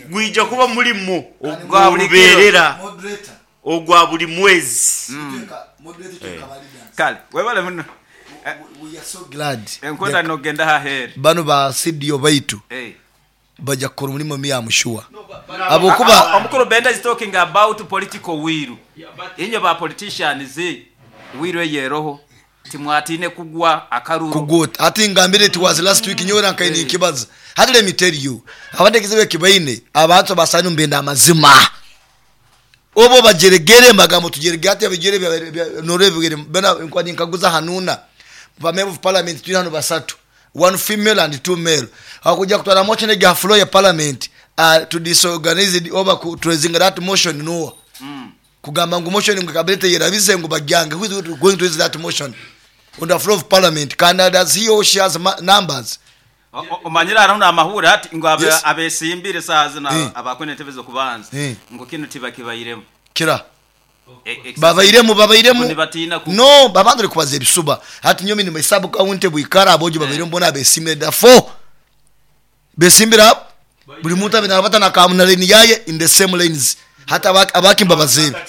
Gwija kuba mulimo Gwa buli kiro. ogw'olubeerera, ogwa buli mwezi. Kale webale muno. Enkwenda nogenda haheru. Banu ba CDO baitu baja kukora omulimo me am sure habwokuba. Omukulu Benda is talking about political will. Inywe ba politicians will eyo eroho timwatiine kugwa akaruru. Kugwa oti hati ngambire it was last week nyowe nkaire ninkibaza hati let me tell you abandi ekizibu ekibaine abantu abasaani nibenda amazima obu obajeregere nibagamba otujeregere hati ebijere noreba ebigere boona nkuba ninkaguza hanuuna ba member of parliament twine hanu basatu one female and two male hakuja kutwara motion egi aha floor ya parliament to disorganized oba ku traisinga that motion noha kugamba ngu motion ngu cabinet eyerabize ngu bagyange who is going to raise that motion on the floor of parliament kandi does he or she has numbers. Omanyire hariho n'amahuure hati ngu Yes. abesimbire esaaha zinu Eh. abakwenda entebe z'okubanza Eh. ngu kinu tibakibairemu. Kira. Ekisasi Babairemu ngu babairemu nibatiina ku. No abantu bari kubaza ebisuba hati nyowe nyine sub county bwikara abojo babairemu bona abesimbire da four besimbire abo buri muntu abe nabata na ka na line yaye in the same lanes hati abaki mbabazeebe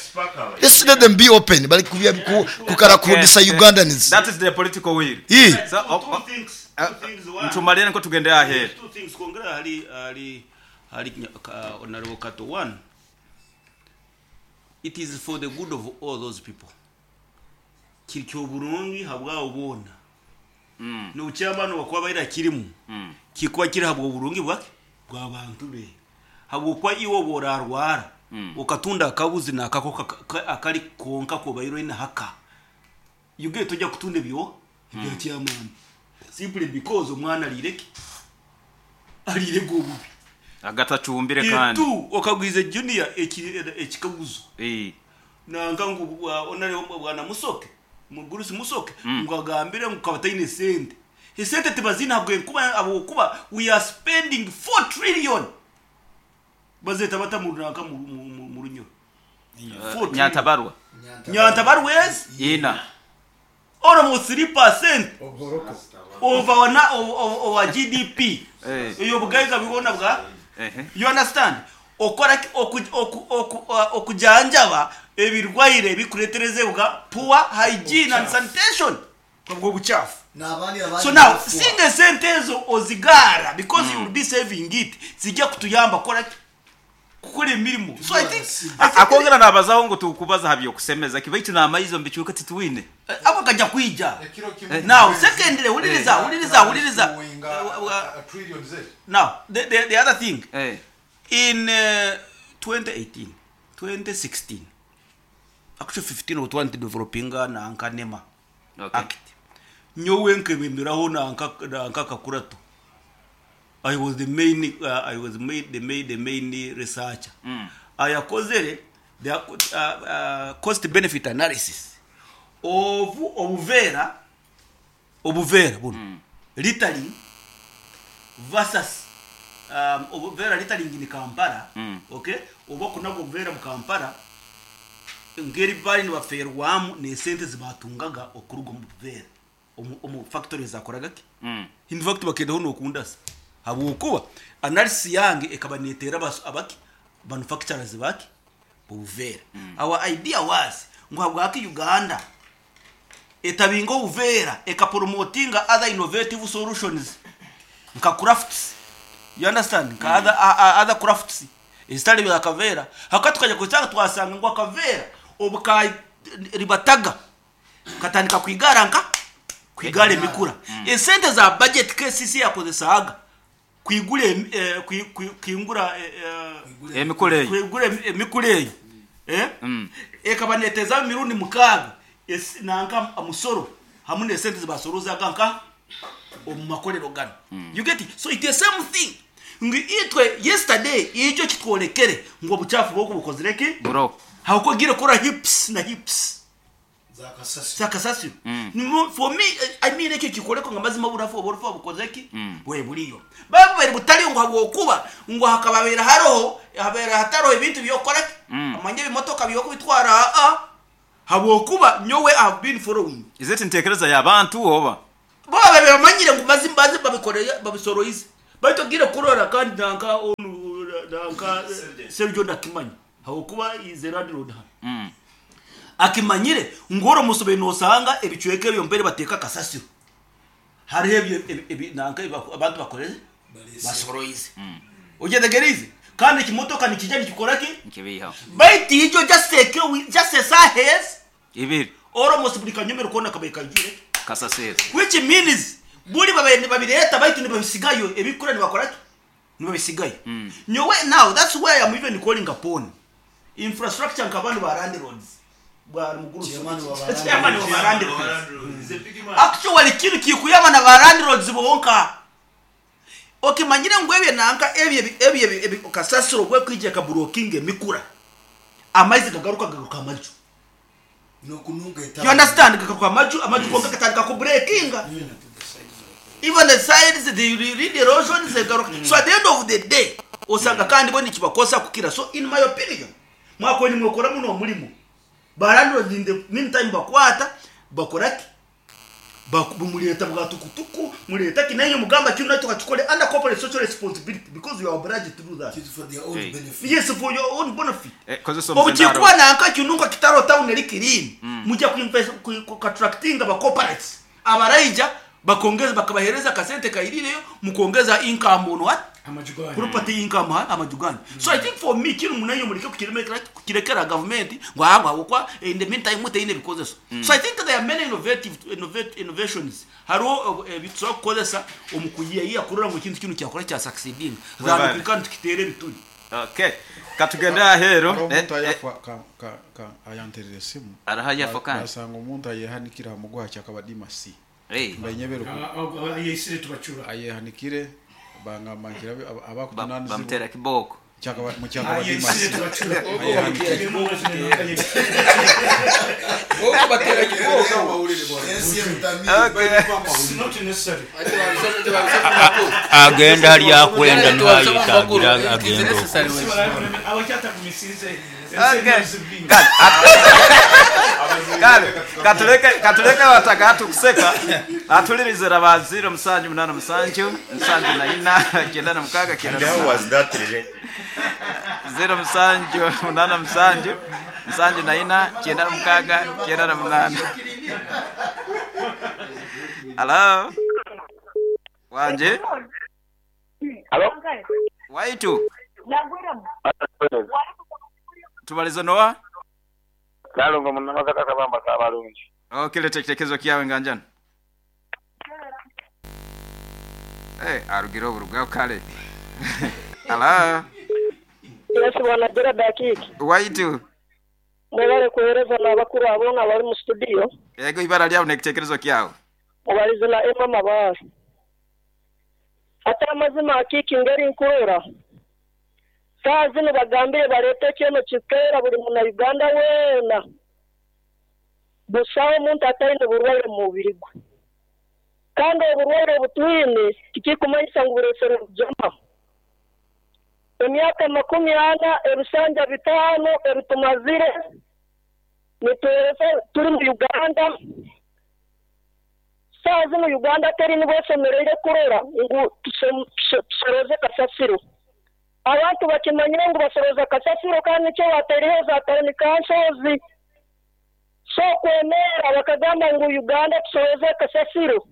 let's let them be open bari kubya ku kukara Okay. kurudisa Ugandans. That is the political will. Ii. So, Two things, two things, one. ntumalire nko tugende aheru. Two things, kwongera hali hali hali Honorable Kato. One, it is for the good of all those people. Kiri ky'oburungi habwabo boona. N'obukyamani obu bakuba kirimu, kikuba kiri habw'oburungi bwaki? Bw'abantu be. Habwokuba iwe obu orarwara, okatunda akabuzi n'akako akari konka kobaire oine haka. You get tojja kutunda ebyo ebya kyamani. Simply because omwana ariire ki? Ariire obubi. Agatacumbire kandi. Two, okagwize junior ekikaguzo. Nanga ngu onare bwana Musoke, mugurusi Musoke, ngu agambire ngu kabataine sente. Esente tibazina habw'enkuba habwokuba we are spending 4 trillion. Bazeta bata mu runaka mu Runyoro. 4 trillion. Nyantabarwa. Nyantabarwa is Ina. almost 3% of our na, of, of, of our GDP. Eyo bugaiga bibona bwa. You understand? Okora okujanjaba ebirwaire bikureterezebwa poor hygiene and sanitation. Obwo buchafu. So now singa sente ezo ozigara because you will be saving it zijja kutuyamba kora kukora emirimo. So I think Akongera nabazaho ngu tukubaza ha by'okusemeza kibaitu n'amaizi omu bicweka titwine. Ako kajja kwija. Now secondly, wuliriza, wuliriza, wuliriza. Now the other thing. In 2018, 2016, actually 15 or 20 developing na nka NEMA Act. Nyowe nkebemberaho na nka kakurato. I was the main, I was made the main, the main researcher. Ayakozere the cost benefit analysis of obuvera, obuvera buno. Littering versus obuvera littering in Kampala. Okay, oba kunago obuvera mu Kampala ngeri bali nibaferwamu ne sente zibatungaga okuruga mu buvera omu factories akoraga ki? In fact bakendaho nokundasa habwokuba analysis yange ekaba netera abaki manufacturers baki obuvera. Our idea was ngu habwaki Uganda etabinga obuvera ekapromotinga other innovative solutions nka crafts. You understand? Nka other crafts ezitari bya kavera. Haka tukajya kusanga twasanga ngu akavera obuka ribataga katandika kwigara nka kwigara emikura. Esente za budget KCC yakozesaga kwigura kwingura Emikura eyo. kwigura emikura eyo. Ekaba neteza mirundi mukaaga nanka amusoro hamwe n'esente zibasorozaga nka omu makorero gano. You get it? So it is the same thing. Ngu itwe yesterday ijo kitworekere ngu obuchafu bwo bukozire ki? Bro. Hauko gire kora hips na hips. Zakasasiro. For me, I mean ekyo kikoreko nga mazima burafu oburufu bukoze ki? Bwe buriyo. Babu bari butari ngo habwokuba ngo hakababera haroho habera hataro ebintu byokora ki? Amanye bimotoka byoko bitwara a habwokuba nyowe have been following. Is it ntekereza y'abantu oba? Bo bamanyire ngo mazima bazi babikoreye babisoroize. Baitu ogire kurora kandi nanka onu nanka Sergio nakimanya habwokuba is a landlord hano. Akimanyire ngu oro musobe nosanga ebicweka ebyo mbere bateka kasasiro. Hariho ebyo nanka abantu bakoreze basoroize. Ojetegerize kandi ekimotoka nikijja nikikora ki? Nkibiha. Baitu ijo just take just sahes ibiri. Oro buli kanyomero kona kabaye kajire kasasiro. Which means buli babaye babireta baitu nibabisigayo ebikura nibakora ki? Nibabisigayo. Nyowe now that's why I'm even calling upon infrastructure nkabantu ba landlords. Bwa muguru chairman wa landlords. Actually kintu kikuyama na ba landlords bonka. Okimanyire ngwebye nanka ebye kasasiro gwe kwijja ka blocking emikura. Amaizi gagaruka gagaruka amaju. Nokununga ita. You understand gagaruka amaju konka katandika ku breakinga. Even the sides the read erosion zegaruka. So at the end of the day osanga kandi bo nikibakosa kukira. So in my opinion mwako ni mwokora muno mulimo. Ba landlords in the meantime bakwata bakoraki bumuleta bwatukutuku muleta kinayo mugamba kino nacho kachukole under corporate social responsibility because you are obliged to do that. It's for their own benefit. Yes, for your own benefit. Obuchikuwa nanka kinunga kitaro town elikirini mujja kuinvest ku attractinga ba corporates abaraija bakongeza bakabahereza kasente kairireyo mukongeza income on what amajugani property income amajugani. So I think for me kino munayo muleke kukirekera kukirekera government ngwangwa kwa in the meantime muteine because so I think there are many innovative innovations haro bitso kukozesa omukuyiya kurora ngo kintu kino kyakora kya succeeding than we can't kitere bituri. Okay, katugenda ahero omuntu ayafa ka ayanterere simu arahayafa kandi asanga omuntu ayehanikira mugwa kyakabadima si bainyebero ayesire tubachura ayehanikire bangamangira abakutunaniza bamutera kiboko mukyakabadima si agenda hali akwenda nihayitangira agenda katuleke wataka kuseka atulirize ba 0 7 8 7 4 9 6 9 How was that related? 0 7 8 7 7 4 9 6 9 8. Hello. Wanje? Hello. Waitu. Tubalizo noa? Nalongo munamaza kabamba kabalungi. Okay, leta kitekezo kiyawe nganjana. Arugiro buruga kale. Hello. Yes, bwana Gerard Akiki. Waitu. Mwebale kuhereza na bakuru abona bali mu studio. Yego ibara lyawe nekitekerezo kyawe. Mubalize na Emma Mabasi. Ata amazima Akiki ngeri nkurora. Saa zino bagambire barete kino kikera buli muna Uganda wena. Busaho omuntu ataine burwaire mu mubiri gwe. Kandi oburwaire obutwine tikikumanyisa ngu buresere bujama. Emyaka 40 ebisanja 5 ebitumazire nituhereza turi mu Uganda. Saa zino Uganda teri nibwo esemereire kurora ngu tusoroze kasasiro. Abantu bakimanyire ngu basoroza kasasiro kandi nikyo bateriho za town councils. So kwemera bakagamba ngu Uganda tusoroze kasasiro.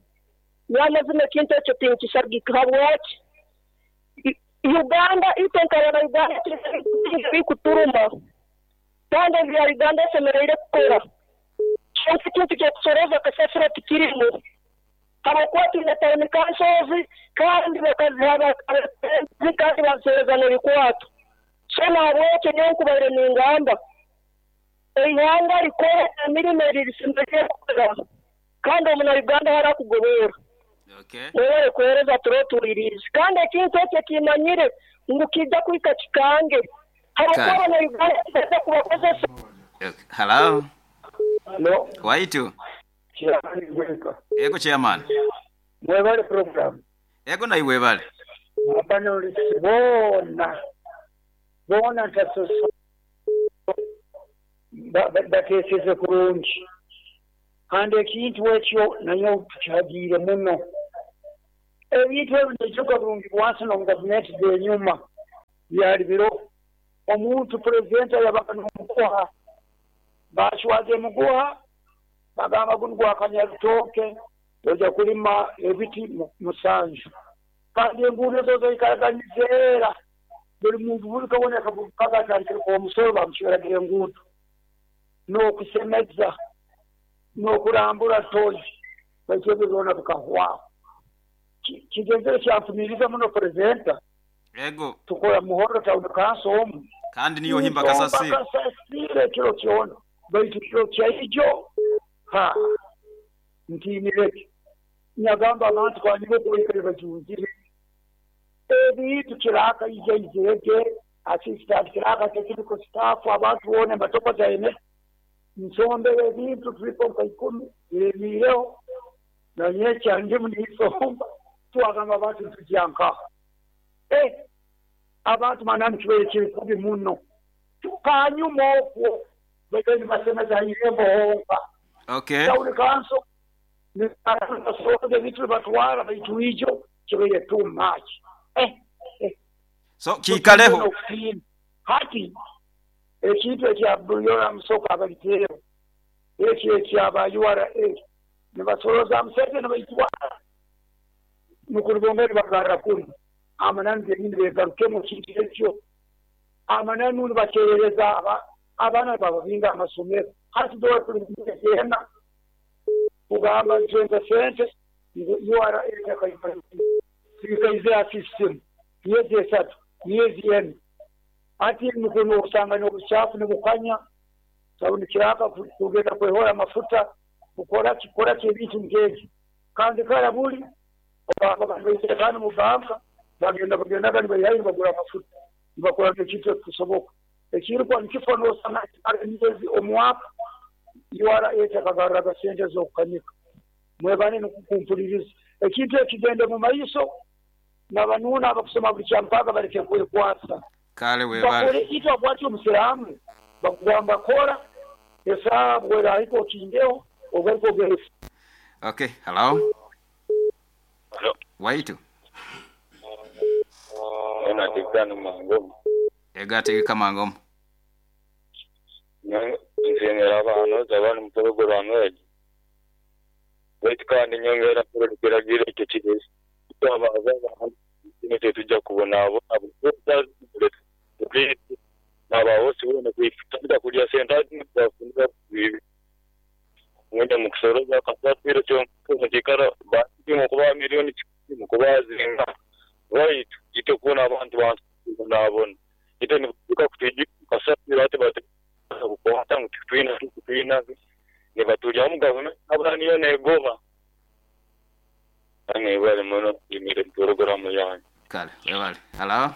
Nyamazima ekintu ekyo tinkisagika habwaki. Uganda itenkabana Uganda ikuturuma. Kandi ebya Uganda esemereire kukora. Kyonka ekintu kyokusoroza kasasiro tikirimu. Habwokuba twine town councils kandi bakaziha kandi bazihereza n'ebikwato. So nahabwekyo nyowe nkubaire ningamba eihanga rikore emirimo erisemeriire kukora kandi omuna Uganda harakugobera. Okay. Mwebale kuhereza turotuwirize. Kandi ekintu ekyo kimanyire ngu kijja kuhika kikange. Habwokuba abana Uganda kibaza kubakozesa. Hello. Hello. Waitu. Ego chairman. Mwebale program. Ego na iwe bale. Abano bona tasoso bateseze kurungi. Kandi ekintu ekyo nayo tukyagire muno. Ebintu ebyo nibijuka burungi bwansi n'omu gavumenti z'enyuma byali biroho. Omuntu purezidenti yabaga n'omuguha, bacwaza emuguha, bagamba gunu gwa kanyarutooke, ojja kulima ebiti 7. Kandi enguudo zo zaikaraga nizeera. Buli muntu buli kabona kaga atandikire omusoro bamucweraga enguudo. N'okusemeza, n'okurambura toyi, baitu ebyo byona bikahwaho. Kigenzere kyantumiriza muno purezidenta. Ego. Tukora Muhorro Town Council omu. Kandi niyo himba kasasiro. Kasasiro ekiro kyona. Baitu kiro kyaijo, ha, ntiinireke. Nyagamba abantu kwanyiba okubaikare bajunzire. Ebintu kiraka ija izirege, assistant kiraka technical staff, abantu boona ematoka zaine. Nsombere ebintu tulipo nka 10, biremiireho. Na nyekya ndimu ninsomba. Twagamba abantu ntujya nkaho. Abantu manani kibaire kiri kubi muno. Kanyuma okwo baikaire nibasemeza ha irembo honka. Okay. Town Council ebintu nibatwara baitu ijo kibaire too much. So kiikaleho. Hati ekintu ekya Buyora Musoka abaliteeho ekyo ekyaba URA nibasoroza Museveni nibaitwara nukuribonga nibagarra kunu. Amananu genyini begarukemu ekintu ekyo. Amananu nibakyerereza abaana bababinga amasomero. Hati dora tuli mugenda kugamba ntwenza sente URA ekaizira system myezi 3 myezi 4. Ati nukuno usanga n'obuchafu nibukanya sababu nikiraka kugenda kwehora amafuta kukora kikora ebintu nk'ekyo. Kandi kara buli kandi mu banka bagenda nibayihayo nibagura amafuta nibakora ekintu ekikusoboka. Ekirikuba nikifo n'osanga emyezi omwaka URA ekagarraga sente z'okukanika. Mwebane n'okukumpuliriza. Ekintu ekigende mu maiso n'abanuuna abakusoma buli kyampaka baleke kwekwasa. Kale webale. Itwe bwati omusiraamu bakugamba kora esaaha bwerahika okindeho ogaruka ogere. Okay, hello. Hello. Waitu. Ena tikano mangomo. Ega tegeka mangomo. Nsemera abana zabana mu program ejo. Baitu kandi nyongera kuragire ekyo kirezi. Abaza abantu tujja kubona abo n'abahosi bona kwifutira kulya sente bafunira ngenda mu kusoroza kasasiro cyo kikara bati kuba milioni 10 kubazinga right ite kubona abantu nabona ite nikuka kutiji kasasiro ate bati kukwata twina ne batulya mu government abaniyo negoba ane bali muno imire program yanyu kale webale. Hello.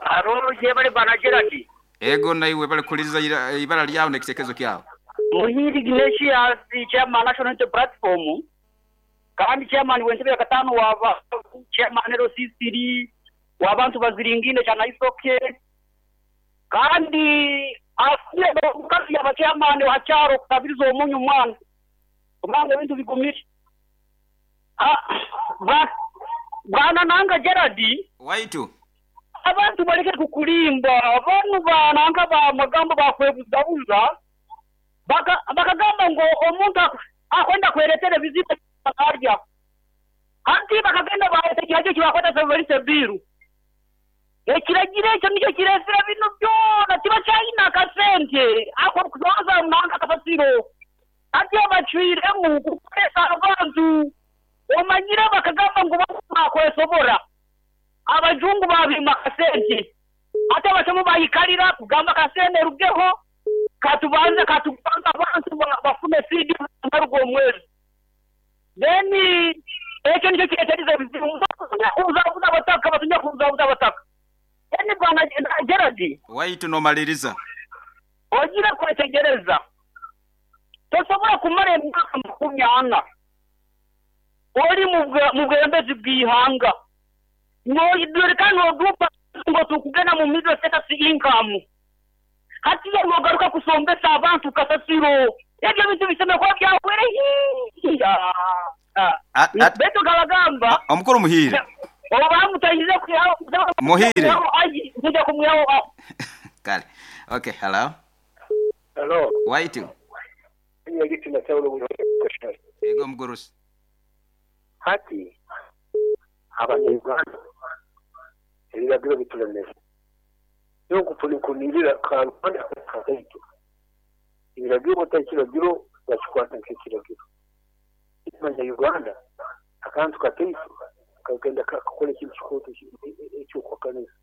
Aro jebale bana Gerard. Ego na iwe bale kuliza ibara lyawo n'ekitekezo kyawo. Muhiri Ignatius chairman National Unity Platform kandi chairman w'entebe ya katano waba chairman RCCD wabantu baziringine cyana isoke kandi asiye mukazi ya chairman wa cyaro kabirizo omunyu mwana kubanga ebintu bigumire. Bwana nanga Gerard waitu abantu baleke kukulimba abantu bananga ba magambo bakwebuzabuza bakagamba ngo omuntu akwenda kweretera bizibu arya anti bakagenda baete kihaje kibakwata severise biru ekiragire ekyo nicyo kiresera bino byona kiba cyayina akasente ako kuzoza nanga akasasiro ati abacwiremu kukoresa abantu omanyira bakagamba ngo bakwesobora abajungu babima kasente ate abashomo bayikalira kugamba kasente rugeho katubanza abantu bafume CD narugo omwezi then ekyo nicyo kireteriza bizibu uzabuza abataka batunya kuzabuza abataka then bwana Gerard waitu nomaliriza ogira kwetegereza tosobola kumara emyaka 40 oli mu bwembezi bw'ihanga noidurikana odupa ngo tukugena mu middle status income hati yogaruka kusombesa abantu kasasiro ebyo bintu biseme kwa byakwere. Baitu nkabagamba Omukuru Muhiire. Obu bamutahize kwihaho Muhiire. Nija kumwihaho. Kale. Okay, hello. Hello. Waitu. Ego omugurusi. Hati abanya-Uganda ebiragiro bitulemere. Nyowe nkunirira kaitu. Ebiragiro otari kiragiro bakikwata nk'ekiragiro. Abanya-Uganda akantu kataito kagenda kakakora ekintu kikooto eky'okuhakanisa.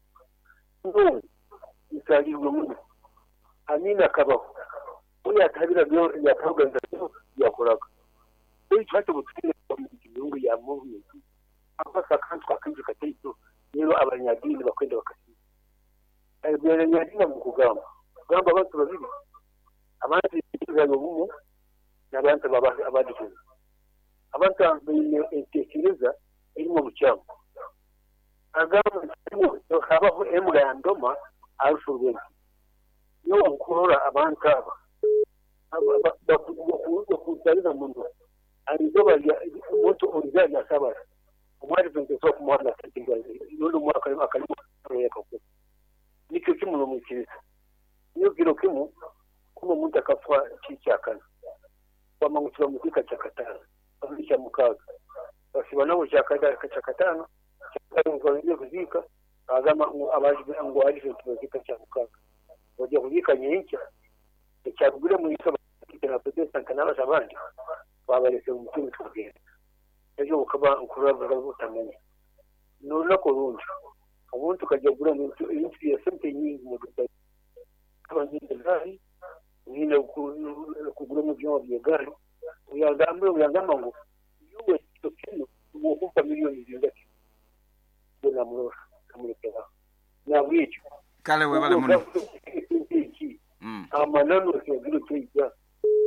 Nyowe nsaalirwe muno. Amini akabaho. Obu yataha ebiragiro yatahaga ebiragiro yakoraga. Baitu hati obu twine gavumenti ya movement, akwasa akantu kakaijo kataito rero abanyadiini bakwenda bakasiima. Abanyadiini mukugamba kugamba abantu babiri, abantu obumu n'abantu abadikiriza. Abantu baine entekereza erimu obukyamu. Agamba nti habaho embwa ya ndoma arufu rw'ensi. Nyowe nkurora abantu aba bakuntariza muno. Arizoba omuntu oriza lyasabara. Omwari nsobola kumuhana n'ondi omwaka akalimu yakakuru. Nikyo kimu n'omwikiriza. Niyo kiro kimu kuma omuntu akafa kikyakana. Bamangu tibamuzika kyakataano, babiri kya mukaaga. Basiba nabo kyakataano, bagiye kuziika, bagamba ngu abaje ngu aje tibazika kya mukaaga. Bajya kuziika nyenkya, ekyarugire mu iso na Protestant n'abasha abandi babarese mu mutima tukagenda. Ejo bukaba nkuraba butamenya. N'olunaku orundi omuntu kajya kugura ebintu bya sente nyingi mu duka. Kaba nyine gaari, nyine kugura mu byuma by'egaari. Uyagamba ngu yuwe kino wokumpa miliyoni zingaki. Namurora kamurekera. Nabwekyo. Kale webale muno. Amanano kiragiro kyeija.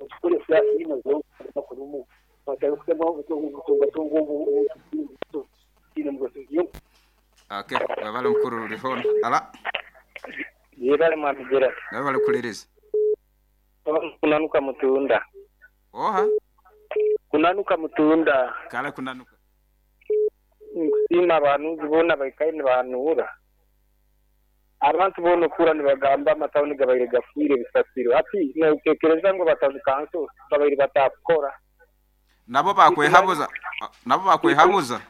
Tukore siasa ina zo nakurumu. Batari kutema kutunga Okay, webale mukuru rihon. Ala. Yebale mwami Gerard. Webale kuliriza. Kunanuka mutunda. Oha. Kunanuka mutunda. Kale kunanuka. Nkusima abantu bona baikaye nibahanura. Abantu bona okura nibagamba amatawuni gabaire gafiire ebisasiro. Hati notekereza ngu batawuni kanso babaire batakukora. Nabo bakwehabuza. Nabo bakwehabuza.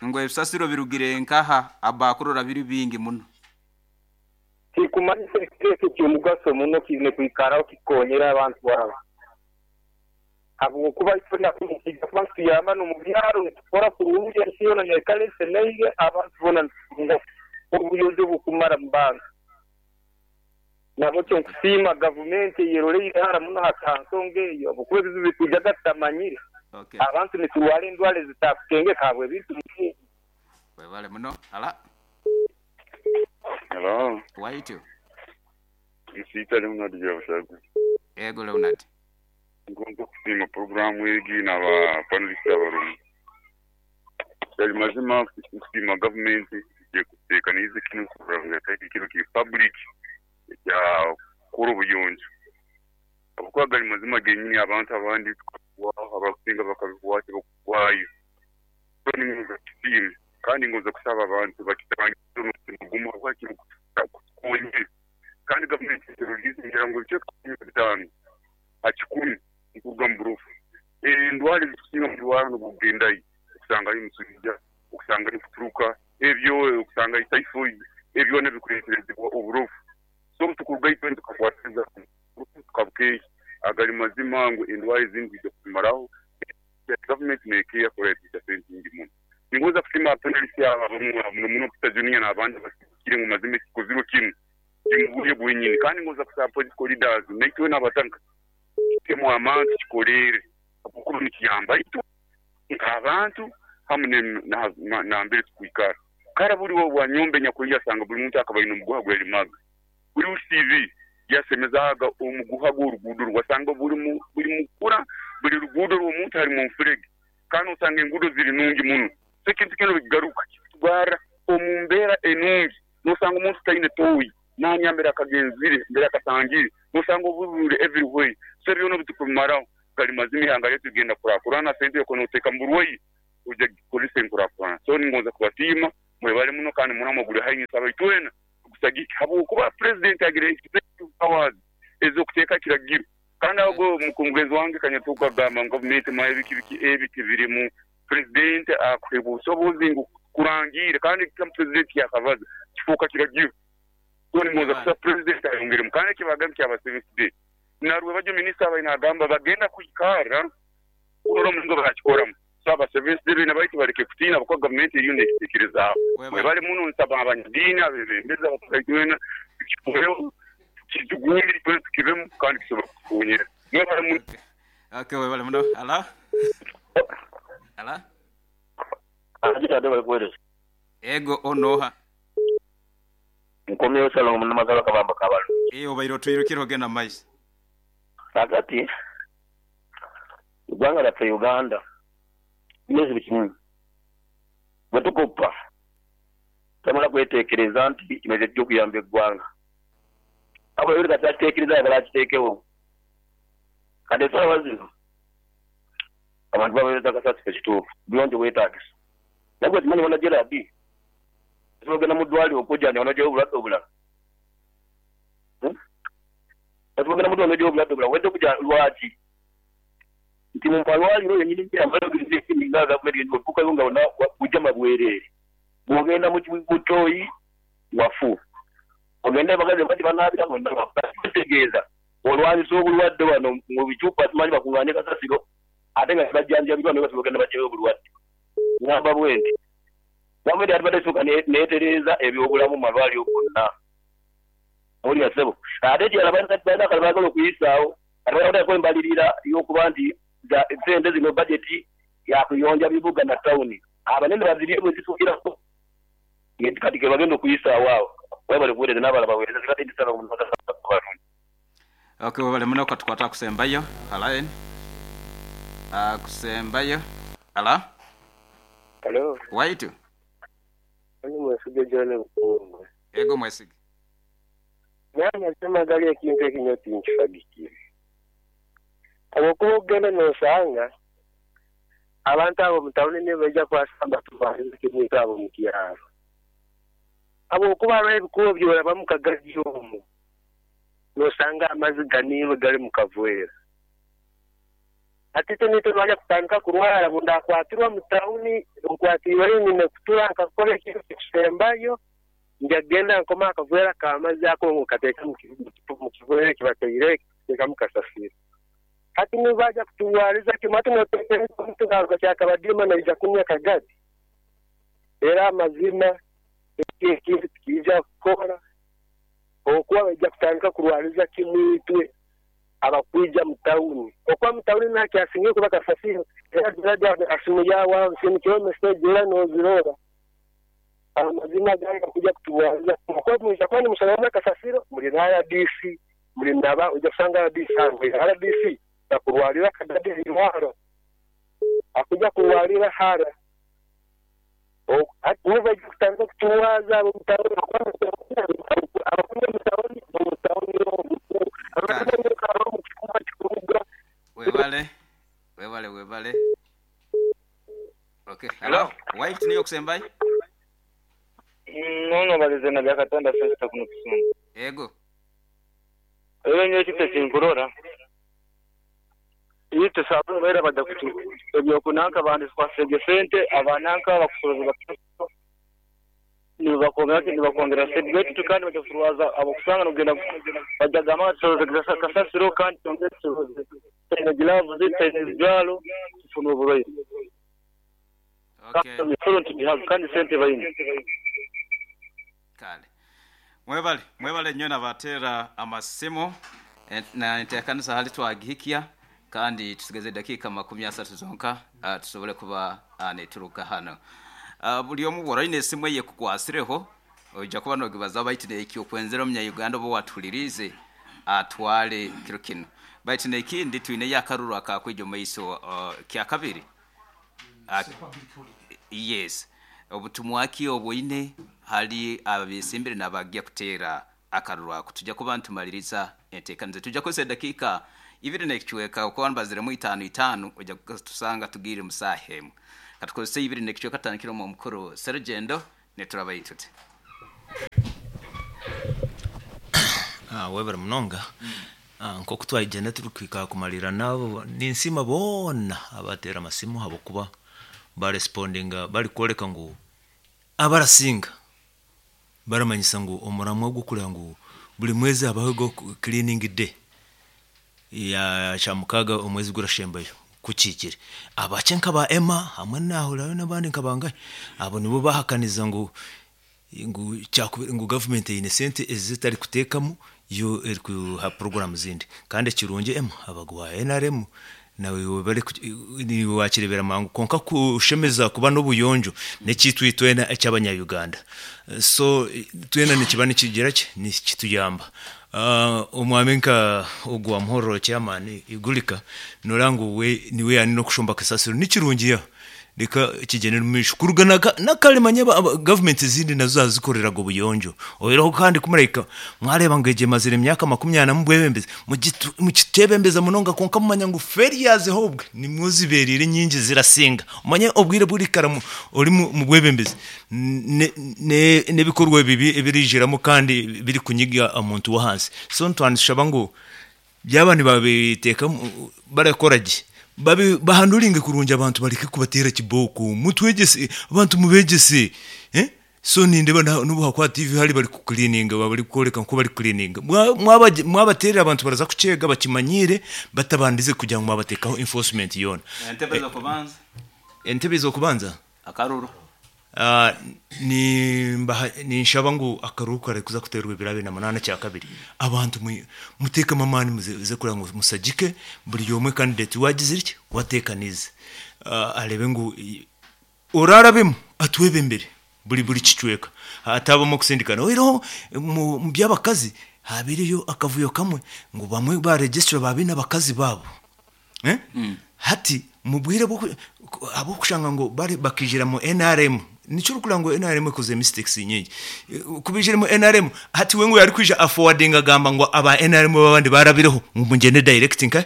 Ngo ebisasiro birugire nkaha abakurora biri bingi muno. Tikumanyisa ekiteeso ky'omugaso muno kiine kwikaraho kikonyera abantu babo. Habwokuba ifuna kuba tuyamba n'omu byaro nitukora kurungi ensi yoona neikara esemeire abantu boona nitutunga obuyonjo bukumara mu bantu. Nabo kyo nkusiima gavumenti eyeroleire hara muno ha nsonga eyo habwokuba ebizibu bikwijaga tutamanyire. Abantu niturwara endwara ezitakutengeka habw'ebintu bingi. Webale muno. Ala. Hello. Waitu. Nsita Leonard Byabashagu. Ego Leonard. Ngomba kusima programu egi n'aba panelist abarumu. Yali mazima kusima government igiye kutekaniza kino kuranga kino ki public ya kuru buyonjo. Abakwagala mazima genyini abantu abandi abakusinga bakabikuwaki bakwayo. Kandi ngoza kusaba abantu bakitangira umutima gumu wakiri kukonye. Kandi government release ngira ngo cyo bitanu akikumi nkuruga mu burufu. Endwara zisinga mu rwanda bugendayi usanga ari musujja, usanga ari kuturuka, ebyo usanga ari typhoid, ebyo nabikureterezebwa oburufu. So tukuruga itwe tukakwatiriza tukabuke agali mazima ngo endwara zindi zikumaraho. Government nekiya koretisha sente nyingi muno. Ningoza kusima panelist aba muno muno Peter Junior n'abandi bakiri mu mazima kikoziro kimwe kimubuye bwenyini. Kandi ngoza kusaba political leaders naitwe n'abatanka temu amantu kikolere kuko nikiyamba itu abantu hamwe na mbere tukwikara kara buri wo wanyombe nyakuya sanga buri muntu akaba ino muguha gwelimaga buri CV yasemezaga omuguha gw'orugudo rwasanga buri mukura buri rugudo rw'omuntu hari mu mfurege kandi usanga engudo ziri nungi muno. So ekintu kino bigaruka kitwara omumbera enungi nosanga omuntu taine toyi nanyambera akagenzire mbere akatangire nosanga obubure everywhere. So byona bitukumaraho Gali mazima ihanga lyaitu ligenda kukurakurana, sente yokuba noteeka mu burwaire oija kugikozesa enkurakurana. So ningonza kubasiima, mwebale muno kandi muramwa guli haihi nsaba itwena tugusagike habwokuba Purezidenti agira executive powers ez'okuteeka ekiragiro kandi ago mugenzi wange Kanyatuka agamba ngu gavumenti manya biki biki ebi tibirimu. Purezidenti akuheebwa obusobozi ngu kurangiira kandi ekigambo Purezidenti yakabaza kifooka kiragiro. So ningonza kusaba Purezidenti ayongeremu kandi eki bagambye kyaba Seventh Day Narwebagyo minisita abaire nagamba bagenda kwikarra kurora omulingo barakikoramu. So aba Seventh Day beena baitu baleke kutiina habwokuba gavumenti eriyo nekitekerezaaho. Mwebale muno nsaba abanyadiini, abebembezi, abataka itwena tukikoreho, tukijugumire itwena tukibemu kandi kisobole kutukonyera. Mwebale muno. Okay, webale muno. Hala? Hala? Ego onoha? Nkomyewo Ssalongo Munamazalwa Kabamba Kabalo. Eeh obaire otwirukire ogenda mu maiso. Kaakati eggwanga lyaffe Uganda lirina ekizibu kimu, bwe tukoppa tamala kwetekereza nti kino kyekija okuyamba eggwanga. Wabula buli kasita akitekereza ayagala akitekewo. Kati esaawa zino abantu bawereza kasasiro kituufu, obuyonjo bwetagisa. Naye gwe okimanyi wona Gerald osobola ogenda mu ddwaliro okwejanjaba nojayo obulwadde obulala. Osobola ogenda mu ddwaliro nojayo obulwadde obulala owedde okuja lwaki? Nti mu malwaliro yenyini nyini nga gavumenti yenyini otuukayo nga wona bujama bwereere. Bwogenda mu toyi wafu, ogenda abakazi bati banaabira wonna wafu. Kati kitegeeza olwanyisa obulwadde wano mu bicupa simanyi bakunganye kasasiro ate nga tibajjanjabirwa naye basobola ogenda baggyayo obulwadde. Ngamba bwenti gavumenti yandibadde esooka neetereeza ebyobulamu mu malwaliro gonna. Owulira ssebo? Ate ekirala balina akalala baagala okuyisaawo kati balina kuteekaku embalirira y'okuba nti sente zino bajeti ya kuyonja bibuga na tawuni abanene bazirye bwezituukiraku kati kebagenda okuyisaawo awo. Webale kuweereza n'abalala baweereze nze ndi Ssalongo Munoza. Ok webale muno katukwate akusembayo line akusembayo hala Halo, waitu oni Mwesige John Bukungu. Ego Mwesige. Naye amazima gali ekintu eki nyowe tinkisagikire. Habwokuba okugenda nosanga abantu abo omu tawuni nibo baija kwasamba tubalize kimu itwe abo omu kyaro. Habwokuba haroho ebikuubo byorabamu kagadi omu nosanga amazi ganiirwe gali mu kavwera. Hati itwe nitwe twaija kutandika kurwara obu ndakwatirwa mu tawuni nkwatiirweyo nyine kutura nkakora ekintu ekikusembayo nja kugenda nkome akavwera k'amaizi ako nkateeka mu kivwera eki bataire kuteekamu kasasiro. Hati nibo baija kuturwariza kimu hati noteekereza omuntu naaruga Kyakabadiima naija kunywa kagadi? Era amazima eki ekintu tikiija kukora habwokuba baija kutandika kurwariza kimu itwe abakwija mu tawuni. Okuba mu tawuni nakyasingire kuba kasasiro era Gerald asimu yaawe aho nsindikireho meseji era noozirora. Amazima gali bakwija kuturwariza kimu habwokuba mwija kuba nimusorooza kasasiro muli na rdc muli naba oija kusanga rdc arwaire. Rdc takurwarira kagadi eirwaro akwija kurwarira hara. Hati nibo baija kutandika kuturwaza ab'omu tawuni abakunya omu tawuni omu tawuni omu Kale. Webale webale webale. Ok hello waitu niiwe okusembayo. Nono balize na Byakatonda Festo kuno Kisumu. Ego. Eyo nyowe ekintu ekinkurora itwe saha zinu baira baja kutu ebyokunanka banditukwasireege sente abananka abakusoroza nibakwongera ki nibakwongera sente baitu kandi baja kuturwaza abakusanga nogenda baja kugamba ngu tusoroze kasasiro kandi twongere tusoroze tutaine gilavuzi tutaine ebijwaro tufune oburwaire. Okay. Emisoro nitugihaga kandi sente baine. Kale. Mwebale, mwebale nyo nabateera amasimu na enteekanisa hali twagihikya kandi tusigaize edakiika makumi asatu zonka tusobole kuba nituruga hanu. Buli omu bwora oine esimu eyekukwasireho oija kuba nogibazaho baitu nekyokwenzere omunya-Uganda oba owatuhuliriize atwale kiro kinu. Baitu nekindi twineyo akaruru akakwija omu maiso kyakabiri. Yes. Obutumwa ki obwoine hali abesimbire nabagya kuteera akaruru ako? Tuja kuba nitumaliriza enteekaniza. Tuja kukozesa edakiika Ibiri n'ekicweka okuba nibaziremu itaano itaano oija kutusanga tugiire mu saaha emu. Katukozese ibiri n'ekicweka tutandikire omu omukuru Serugendo niturabayo tuti. Webare munonga. Nk'oku twayigyenda turikuhika aha kumariira naabo, ninsiima boona abateera amasimu ahabw'okuba barespondinga barikworeka ngu abarasinga baramanyisa ngu omuramwa gw'okureba ngu buri mwezi habaho cleaning day ya kyamukaaga omwezi gurashembayo kukiikire. Abakye nka ba Emma hamwe nahurirayo n'abandi nka bangahi abo nibo bahakaniza ngu ngu gavumenti eine sente ezi etarikuteekamu yo erikuha puroguraamu zindi. Kandi ekirungi Emma abagwa NRM naiwe niiwe wakireebera mangu kwonka kushemeza kuba n'obuyonjo n'ekyaitu itwena eky'abanya-Uganda. So twena nikiba nikigira ki nikituyamba. Omwami nka ogu wa Muhororo chairman Igulika noreeba ngu we niwe yaaba n'okushomba kasasiro nikirungi ya reka kigyende omu maisho. Kuruga nakare manya gavumenti ezindi nazo zaazikoreraga obuyonjo. Oihireho kandi ku murahika mwareeba ngu egi emazire emyaka makumi ana mubwebembezi mukitebembeza munonga kwonka mumanya ngu failures hobwe nimwo zibereire nyingi zirasinga. Omanye obwire obu orikara ori mubwebembezi n'ebikorwa ebibi ebirijiramu kandi birikunyiga omuntu w'ahansi. So nitwanishaba ngu byaba nibabiteeka barakora gye bahanduringe kurungi abantu bareke kubateera kibooko mutwegyese abantu mubegyese. So nindeeba n'obu hakuba TV hari bari kucleaninga bari kworeka nku bari kucleaninga. Mwabateerera abantu baraza kukyega bakimanyire batabandize kugira ngu mwabateekaho enforcement yoona. Entebe z'okubanza. Entebe z'okubanza? Akaruru. Ninshaba ngu akaruru kare kuza kuteerwa ebiro abiri na munaana kyakabiri. Abantu muteekemu amaani muze kureba ngu musagike buri omwe candidate wagizire ki wateekaniize. Areebe ngu orarabemu atwebembere buri kicweka. Hatabamu okusindikana. Oihireho mu by'abakazi haabaireyo akavuyo kamwe ngu bamwe baregisitara babaine abakazi baabo. Hati mu bwire ahabw'okushanga ngu bakaijira mu NRM nikyo orikureba ngu NRM ekoze mistakes nyingi. Ku baijire mu NRM hati we ngu yarikwija aforwardinga agamba ngu aba NRM abandi barabireho ngu mugyende direct nka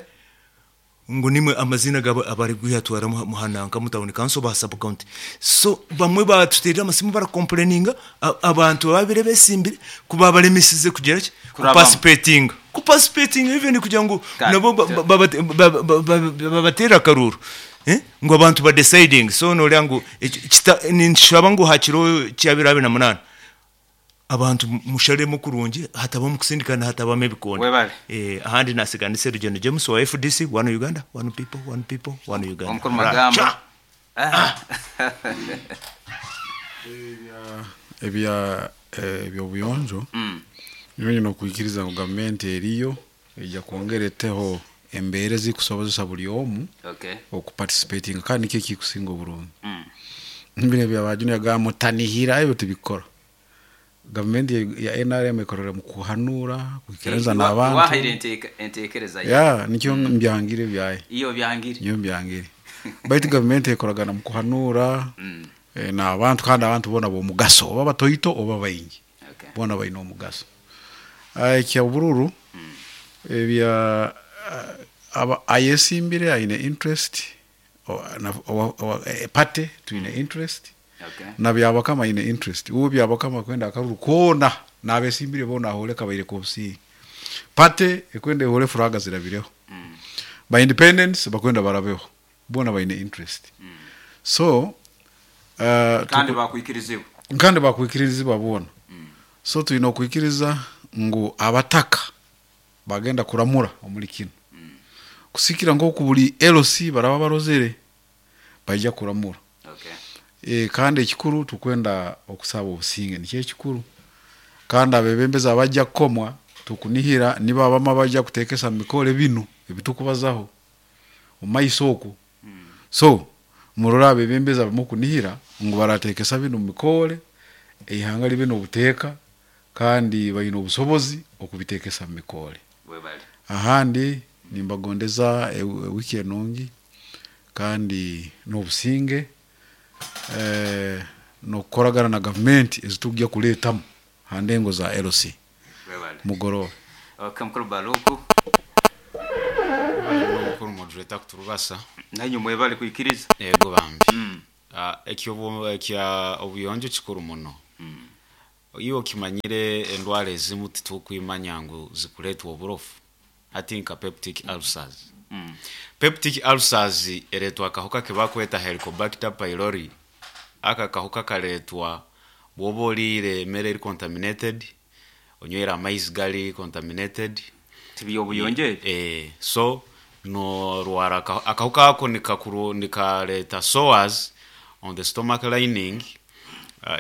ngu nimwe amazina gabo abari kuyatwara muhananka mu town council ba sub county. So bamwe batuteerera amasimu baracomplaininga abantu babire besimbire kuba balemesize kugira ki kuparticipatinga. Kuparticipatinga even kugira ngu nabo babateere akaruru. Ngu abantu ba deciding. So noreeba ngu ninshaba ngu hakiro kyabiri abiri na munaana abantu musharemu kurungi hatabamu kusindikana hatabamu ebikonde. Webale. Ahandi nasiganisa Rugendo James wa FDC, one Uganda, one people, one people, one Uganda. Omukuru Magambo. Ebya ebyobuyonjo nyowe nyine okwikiriza ngu gavumenti eriyo ejja kwongera eteho embeera ezikusobozesa buri omu okuparticipatinga kandi nikyo ekikusinga oburungi. Bino ebya ba Junior agamba mutanihira ebyo tibikora. Gavumenti ya NRM ekorera mu kuhanura kwikiriza n'abantu. Wahaire enteekereza ye. Ya nikyo mbyangire byaye. Iyo byangire. Niyo mbyangire. Baitu gavumenti ekoragana mu kuhanura n'abantu kandi abantu boona b'omugaso oba batoito oba baingi. Boona baine omugaso. Ekya obururu ebya ayesimbire aine interest party twine interest na Byabakama aine interest. Uwe Byabakama kwenda akaruru koona n'abesimbire boona ahore kabaire k'obusinge. Party ekwenda ehore furaga zirabireho. Ba independents bakwenda barabeho. Boona baine interest. So kandi bakwikirizibwa. Kandi bakwikirizibwa boona. So twine okwikiriza ngu abataka bagenda kuramura omuri kinu. Kusikira nk'oku buri LC baraba barozere baija kuramura. Kandi ekikuru tukwenda okusaba obusinge nikyo ekikuru. Kandi abebembezi abajja kukomwa tukunihira nibo abamu abajja kuteekesa mu mikoro binu ebitukubazaho omu maiso oku. So murore abebembezi abamu kunihira ngu barateekesa binu mu mikore eihanga libe n'obuteeka kandi baine obusobozi okubiteekesa mu mikore. Ahandi nimbagondeza wiki enungi kandi n'obusinge n'okukoragana na gavumenti ezitujya kuleetamu ha ndengo za LC. Mugorobe. Okay, mukuru Baluku. moderator kuturubasa. Nanyu mwebale kwikiriza. Yego bambi. Ekya obuyonjo kikuru muno. Iyo okimanyire endwara ezimu titukwimanya ngu zikuletwa oburofu. Hati nka peptic ulcers. Peptic ulcers eretwa akahuka kebakweta Helicobacter pylori. Aka kahuka karetwa bwoba oriire emere eri contaminated, onywere amaizi gari contaminated. Tibyobuyonjo ebyo? So norwara akahuka ako nikareta sores on the stomach lining,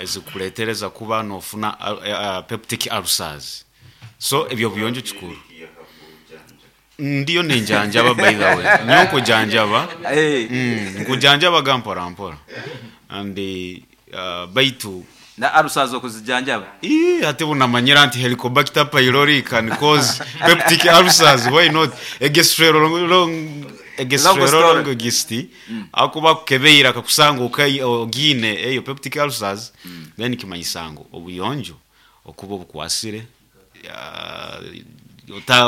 ezikuletereza kuba nofuna peptic ulcers. So ebyo buyonjo kikuru. Ndiyo ninjanjaba, by the way. Nyo nkujanjaba. Nkujanjaba ga mpora mpora. And baitu na ulcers okuzijanjaba. Ii, ate bunamanyira nti Helicobacter pylori can cause peptic ulcers. Why not? Egestroelongist akuba kukebeira akakusanga ogine eyo peptic ulcers, then kimanyisango obuyonjo okuba obukwasire,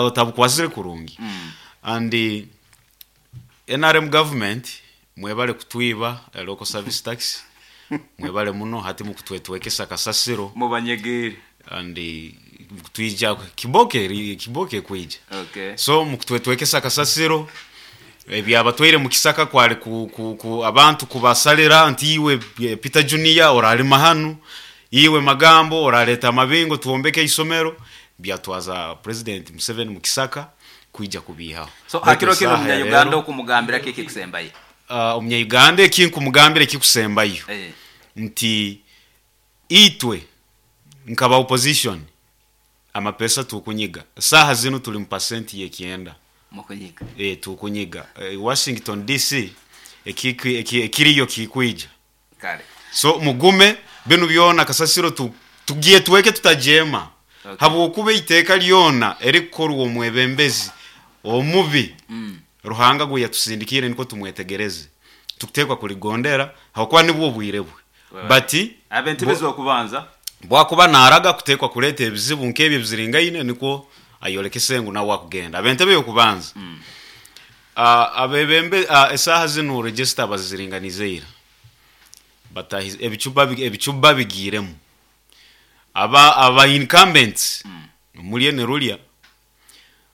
otabukwasire kurungi. And NRM government mwebale kutwiba local service tax, mwebale muno hati mukutwetwekesa kasasiro mubanyegere and twija kiboke kiboke kwija. So mukutwetwekesa kasasiro ebyabatwaire mu kisaka kwali ku abantu kubasalira nti iwe Peter Junior oralima hanu, iwe Magambo oraleta amabingo tuombeke isomero, byatwaza President Museveni mu kisaka kwija kubihaho. So hakiro kino munya Uganda okumugambira kiki kusembayo? Omunya Uganda ekinkumugambira ekikusembayo nti itwe nkaba opposition amapesa tukunyiga saha zino tuli mu percent yekienda mukunyiga tukunyiga Washington DC ekiriyo kikwija kale. So mugume binu byona kasasiro tugiye tuweke tutajema. Habwokuba iteeka lyona erikorwa omwebembezi omubi, Ruhanga gwe yatusindikire niko tumwetegereze tukutekwa kuligondera hakuba nibwo bwire bwe. Bati abentebezi okubanza bwakuba naraga kutekwa kuleta ebizibu nkebyo biziringaine niko ayolekese ngu nawe akugenda abentebe yokubanza. Abebembe esaha zino register baziringanizeira batahize ebicuba bigiremu aba incumbents mulye ne rulya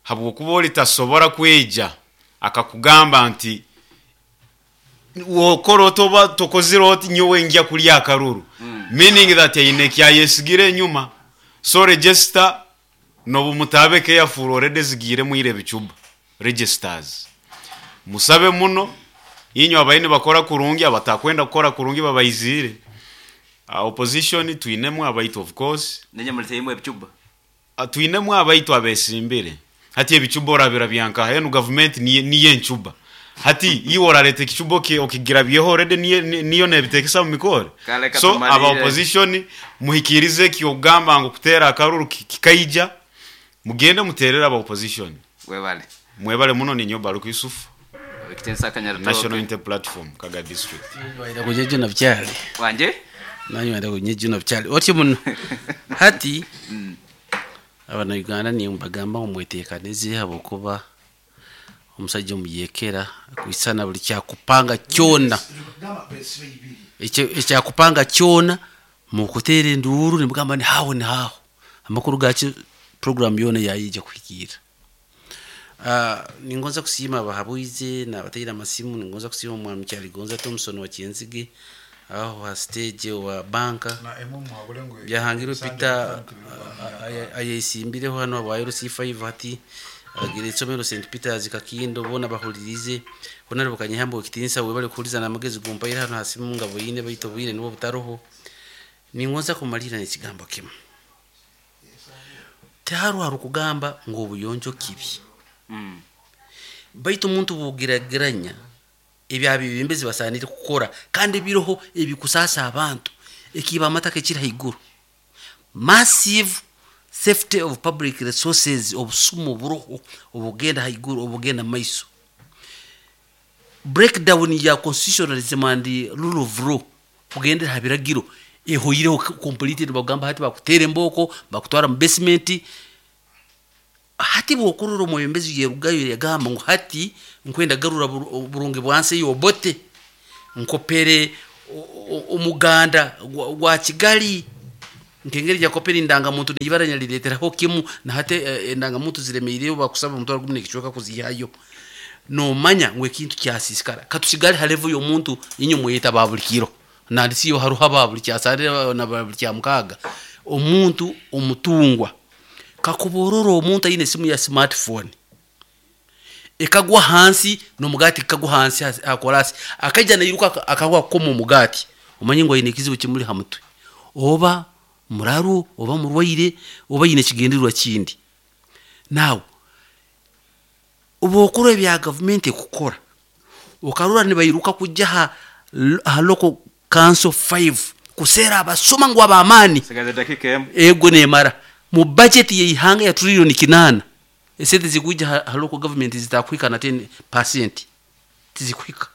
habwokuba olitasobora kweja akakugamba nti wokora otoba tokozire oti nyowe njya kulya akaruru, meaning that aine kyayesigire enyuma. So register nobu mutabe careful already zigire mwire bicuba registers musabe muno inyo abaine bakora kurungi abatakwenda kukora kurungi babayizire. Opposition twinemu abaitu of course nenye muliteyimwe ebicuba twinemu abaitu abesimbire hati ebicuba orabira byanka henu government niye ncuba hati iwe orareta ekicuba okigira byeho already niyo nebitekesa mu mikore. So aba opposition muhikirize kyogamba ngo kutera akaruru kikaija mugende muterera aba opposition. Webale mwebale muno ni nyoba Baruku Yusuf ekitensa Kanyaritoke National Inter Platform Kaga District. Waida kunyeje na byali wanje nanyo waida kunyeje na byali oti muno hati abana Uganda ni mbagamba omwetekaneze habokuba omusajja omuyekera kwisana buli kyakupanga kyona ekyakupanga kyona mukutera enduru nimugamba ni hawo ni hawo amakuru gachi program yona yayija kuhikira. Ningonza kusima abahabuize nabatera amasimu, ningonza kusima omwami Kyaligonza Thompson wa Kyenzige aho ha stage wa banka byahangirwe Peter ayesimbireho hano abaye C5 hati agira isomero St Peters Kakindo bona bahulirize honarebo Kanyihambo kitinsa we bali kuhuliza namagezi gumpaira hano hasimu ngabo yine bayito bwire nibo butaroho. Ningonza kumalira nekigambo kimu teharu harukugamba ngo obuyonjo kibi. Baitu omuntu bugirageranya ebyabibimbezi basanire kukora kandi biroho ebikusasa abantu ekiba amataka ekiri haiguru massive safety of public resources obusumu buroho obugenda haiguru obugenda maiso breakdown ya constitutionalism and rule of law kugendera habiragiro ehoyireho completed bagamba hati bakutere mboko bakutwara mu basement. Hati bwokurora omwebembezi yerugayo yagamba ngu hati nkwenda garura burungi bwansi yobote nkopere omuganda gwa Kigali nkengeri jakopere indangamuntu nibara nyalireteraho kimu na hati endangamuntu ziremeireyo bakusaba omutwaro gumu n'ekicweka kuzihayo. Nomanya ngu ekintu kyasisikara katusigale ha level y'omuntu inye mweyeta ba buli kiro nandisiyo haruha ba buli kyasarira na ba buli kya mukaaga. Omuntu omutungwa kakuborora omuntu aine esimu ya smartphone ekagwa hansi n'omugati kagwa hansi akorasi akaija nairuka akagwa kukoma omugati, omanye ngu aine ekizibu kimuli ha mutwe oba muraru oba murwaire oba aine ekigendererwa kindi. Nawe obwokora ebya gavumenti ekukora okarora nibairuka kujja ha local council 5 kuseera abasoma ngu ab'amaani Sigaze dakika emu. Ego nemara mu budget yeihanga ya trillion 8 esente zikuja ha local government zitakwika na 10% tizikwika.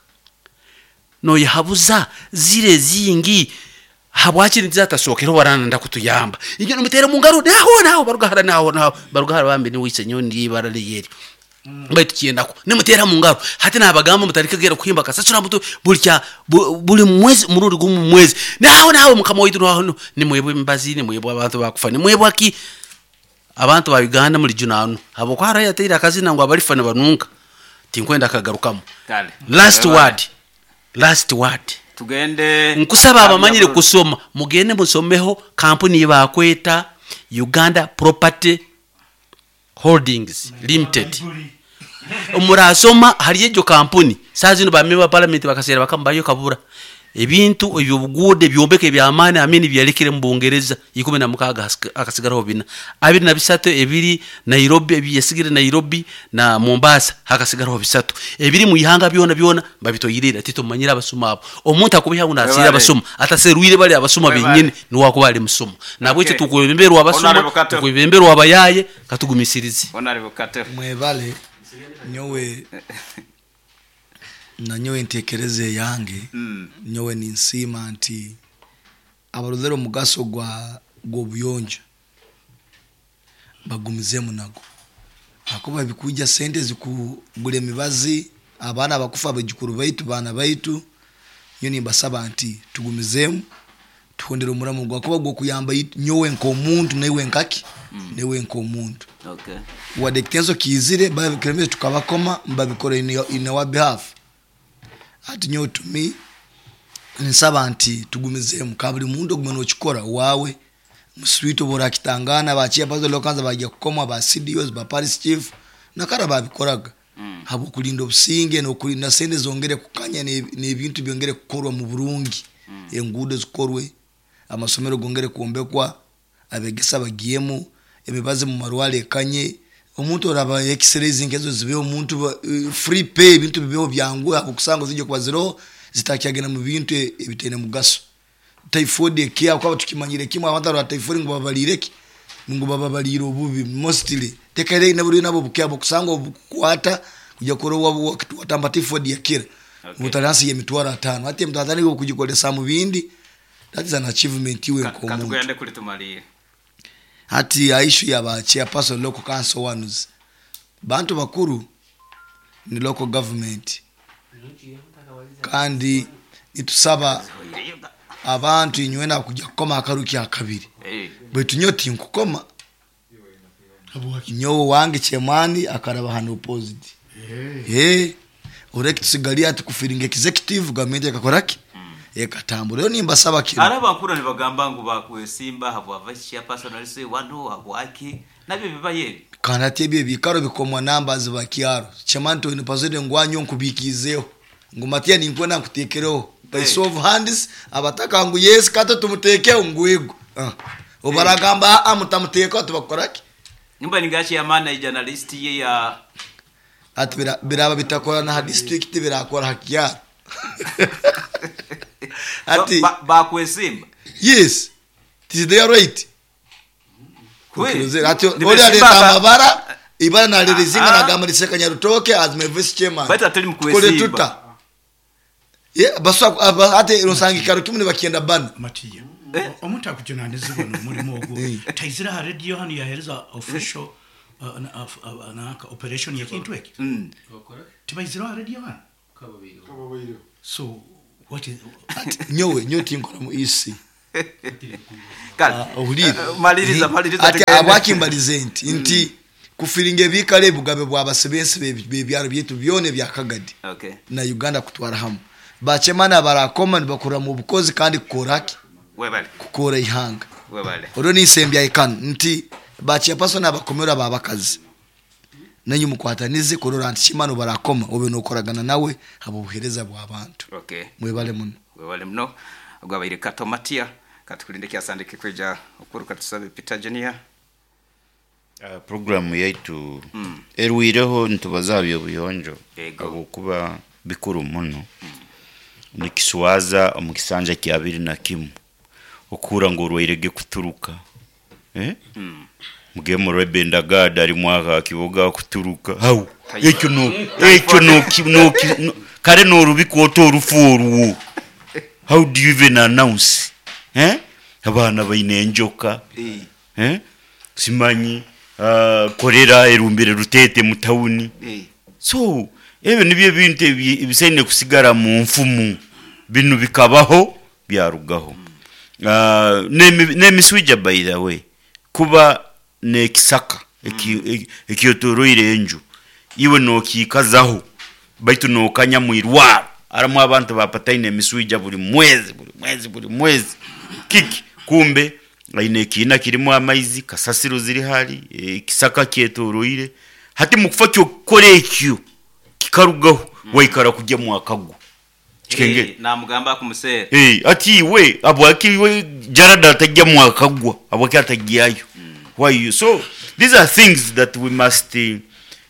No yahabuza zire zingi habwaki ntizatasokera warana ndakutuyamba inyo nimutere mu ngaro naho naho barugahara naho naho barugahara bambe ni wise nyo ndi bara liyeri baitu kiendako nimutera mu ngaro. Hati nabagamba mutarikegera kuhimba kasasura mutu buli buli mwezi murundi gumu mwezi naho naho mukama waitu naho nimwebwe mbazi nimwebwe abantu bakufa nimwebwe aki abantu ba Uganda muri junanu abo kwa raya teira akazina ngo abalifa ne banunka tinkwenda kagarukamu. Last word, last word tugende nkusaba abamanyire kusoma mugende musomeho kampuni bakweta Uganda Property Holdings Limited. Omurasoma hari ejo kampuni sazi no bameba parliament bakasera bakambayo kabura ebintu ebyobugude byombeke byamani amini byalekire mu Bungereza 16 akasigaraho bina 23 ebiri Nairobi ebiyasigire Nairobi na Mombasa hakasigaraho 3 ebiri mu ihanga byona byona babitoyirira titumanyira abasoma abo. Omuntu akubiha unasira abasoma ataserwire bali abasoma benyine niwakuba ali musoma nabwe okay. Tukwebemberwa abasoma tukwebemberwa abayaye katugumisirize. Mwebale nyowe na nyowe ntekereze yange. Nyowe ninsima nti abarozero mugaso gwa gobuyonjo bagumizemu nago akoba bikuja sente zikugule mibazi abaana bakufa abajukuru baitu bana baitu. Nyo nimbasaba nti tugumizemu tuhondere omuramu gwa kuba gwo kuyamba nyowe nkomuntu newe nkaki newe nkomuntu. Okay. Wadekitenzo kizire babikiremeze tukabakoma mbabikore in our behalf. Ati nyowe to me nsaba nti tugumizemu kabuli muntu ogumene okikora wawe muswito bora kitangana bachiya pazo lokanza bajya kukoma ba CDOs ba Paris chief nakara babikoraga. Habo kulinda obusinge no kulinda sente zongere kukanya n'ebintu byongere kukorwa mu burungi. Enguudo zikorwe, amasomero gongere kuombekwa, abegesa bagiyemu, emibazi mu marwale ekanye, omuntu oraba x-rays nkezo zibeho omuntu free pay ebintu bibeho byangu akusanga zijye kuba zero zitakyagena mu bintu ebitene mugaso. Typhoid ekia kwa tukimanyire kimwe abantu ba typhoid ngo babalireke ngo bababalire obubi mostly tekere naburi nabo bukyabo kusanga obukwata kujya korowa watamba typhoid yakira. Okay. Mutaransi ye mitwaro 5 hati mutazani kujikolesa mu bindi. That is an achievement iwe nkomuntu. Katugende kuli tumaliye. Hati issue ya ba chairperson local council ones. Bantu bakuru ni local government. Kandi nitusaba abantu inywena kujya kukoma akaruki akabiri. Baitu nyoti nkukoma. Nyowe wange chemani akaraba hano opposite. Oreki tusigalia ati kufiringa executive government ekakoraki. Ekatambura. Rero nimba saba kino. Araba nkura nibagamba ngu bakwesimba habwa vice chairperson alise wano habwaki nabyo bibaye. Kana tebye bikaro bikomwa numbers bakiaro. Chemani to inipazede ngwanyo nkubikizeho. Ngumatia ninkwenda nkutekereho. By show of hands abataka ngu yes kato tumuteke ngwego. Obaragamba amutamuteka tubakoraki. Nimba ningachi amana i journalist ye ya ati biraba bitakora na district birakora hakiaro. Ati bakwesimba. Yes. This is their right. Ati ori aleta amabara ibara na lirizinga na gamaliseka Nyarutoke as my vice chairman. Bata tuli mkwesimba. Yeah, baswa ate rusangi karo kimwe bakienda bana. Matiya. Omuntu akujunanizibwa n'omulimu ogwo. Taizira ha radio hano yahereza official nanka operation y'ekintu eki tibaizireho ha radio hanu. So what is Nyowe nyowe tinkora mu EC. Kale. Ohulire. Maliriza, maliriza Ati tugende. abwaki mbalize nti kufiringa ebikara ebugabe bw'abasebensi b'ebyaro byaitu byona ebya Kagadi na Uganda kutwara hamu bachemana barakoma nibakora mu bukozi kandi kukoraki Webale. Kukora ihanga. Webale. Olwo nisembya ekanu nti bachairperson abakomera babakazi nenyu mukwatanize kurora nti kimano barakoma obe nokoragana nawe abo buhereza bw'abantu. Mwebale muno. Webale muno. Gwabaire Kato Matia katukulinde kyasandike kwija okuruka tusabe Peter Junior. Programu yaitu erwireho nitubaza byobuyonjo habwokuba bikuru muno. Nikiswaza omu kisanja kya 21 okuhura ngu orwairege kuturuka, eh? Mugemo rwebendagada ari mwaka kiboga kuturuka hau ekyo no ekyo no no no kare norubika orufu orwo. How do you even announce, eh? Abaana baine enjoka, eh? Simanyi kolera erumbire Rutete mu tawuni. So ebyo nibyo ebintu ebisaine kusigara mu nfumu. Binu bikabaho byarugaho. N'emiswija by the way, kuba n'ekisaka ekyetoroire enju iwe nokiikazaho baitu nokanya mwirwaro harimu abantu bapataine emiswija buri mwezi buri mwezi buri mwezi. Kiki kumbe aine ekiina kirimu amaizi, kasasiro ziri hari, ekisaka kyetoroire. Hati mukufa kyokukora ekyo kikarugaho waikara kurya mwakagwa. Kikengere. Namugamba akumuseera. Ati iwe habwaki iwe Jarada atajya mwakagwa, habwaki atajyayo? Why you? So these are things that we must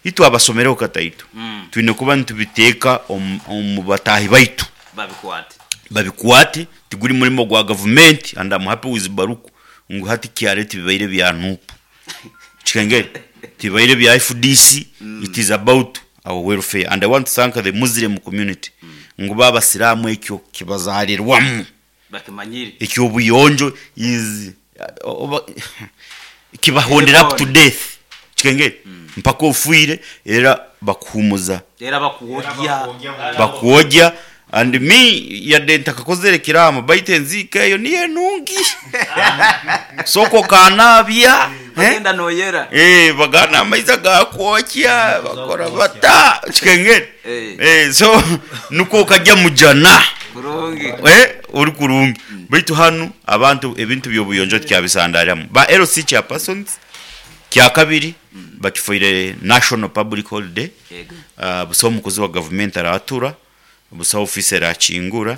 itwe abasomereho kataito twine kuba nitubiteeka omu bataahi baitu babikwate. Babikwate. Tiguri murimo gwa gavumenti, and I'm happy with Baruku ngu hati kyare tibibaire bya NUP, kikengere tibibaire bya FDC. It is about our welfare, and I want to thank the Muslim community ngu bo abasiraamu ekyo kibazarirwamu. Bakimanyire. Ekyobuyonjo is oba kibahondera up to death, kikengere mpaka ofiire era bakuhumuza. Era bakuwogya. Bakuwogya. And me yadde ntakakozere kiraamo baitu enziika eyo niyo enungi, sooka okanaabya, eh? Bagenda noyera. Bagana amaizi agakwokya bakora bata, kikengere. So nukwo okajya mujana. Kurungi. Ori kurungi. Baitu hanu abantu ebintu by'obuyonjo tikyabisandariramu. Ba LC chairpersons kyakabiri bakifoire national public holiday. Busaho omukozi wa gavumenti aratura, busaho ofiisi erakingura.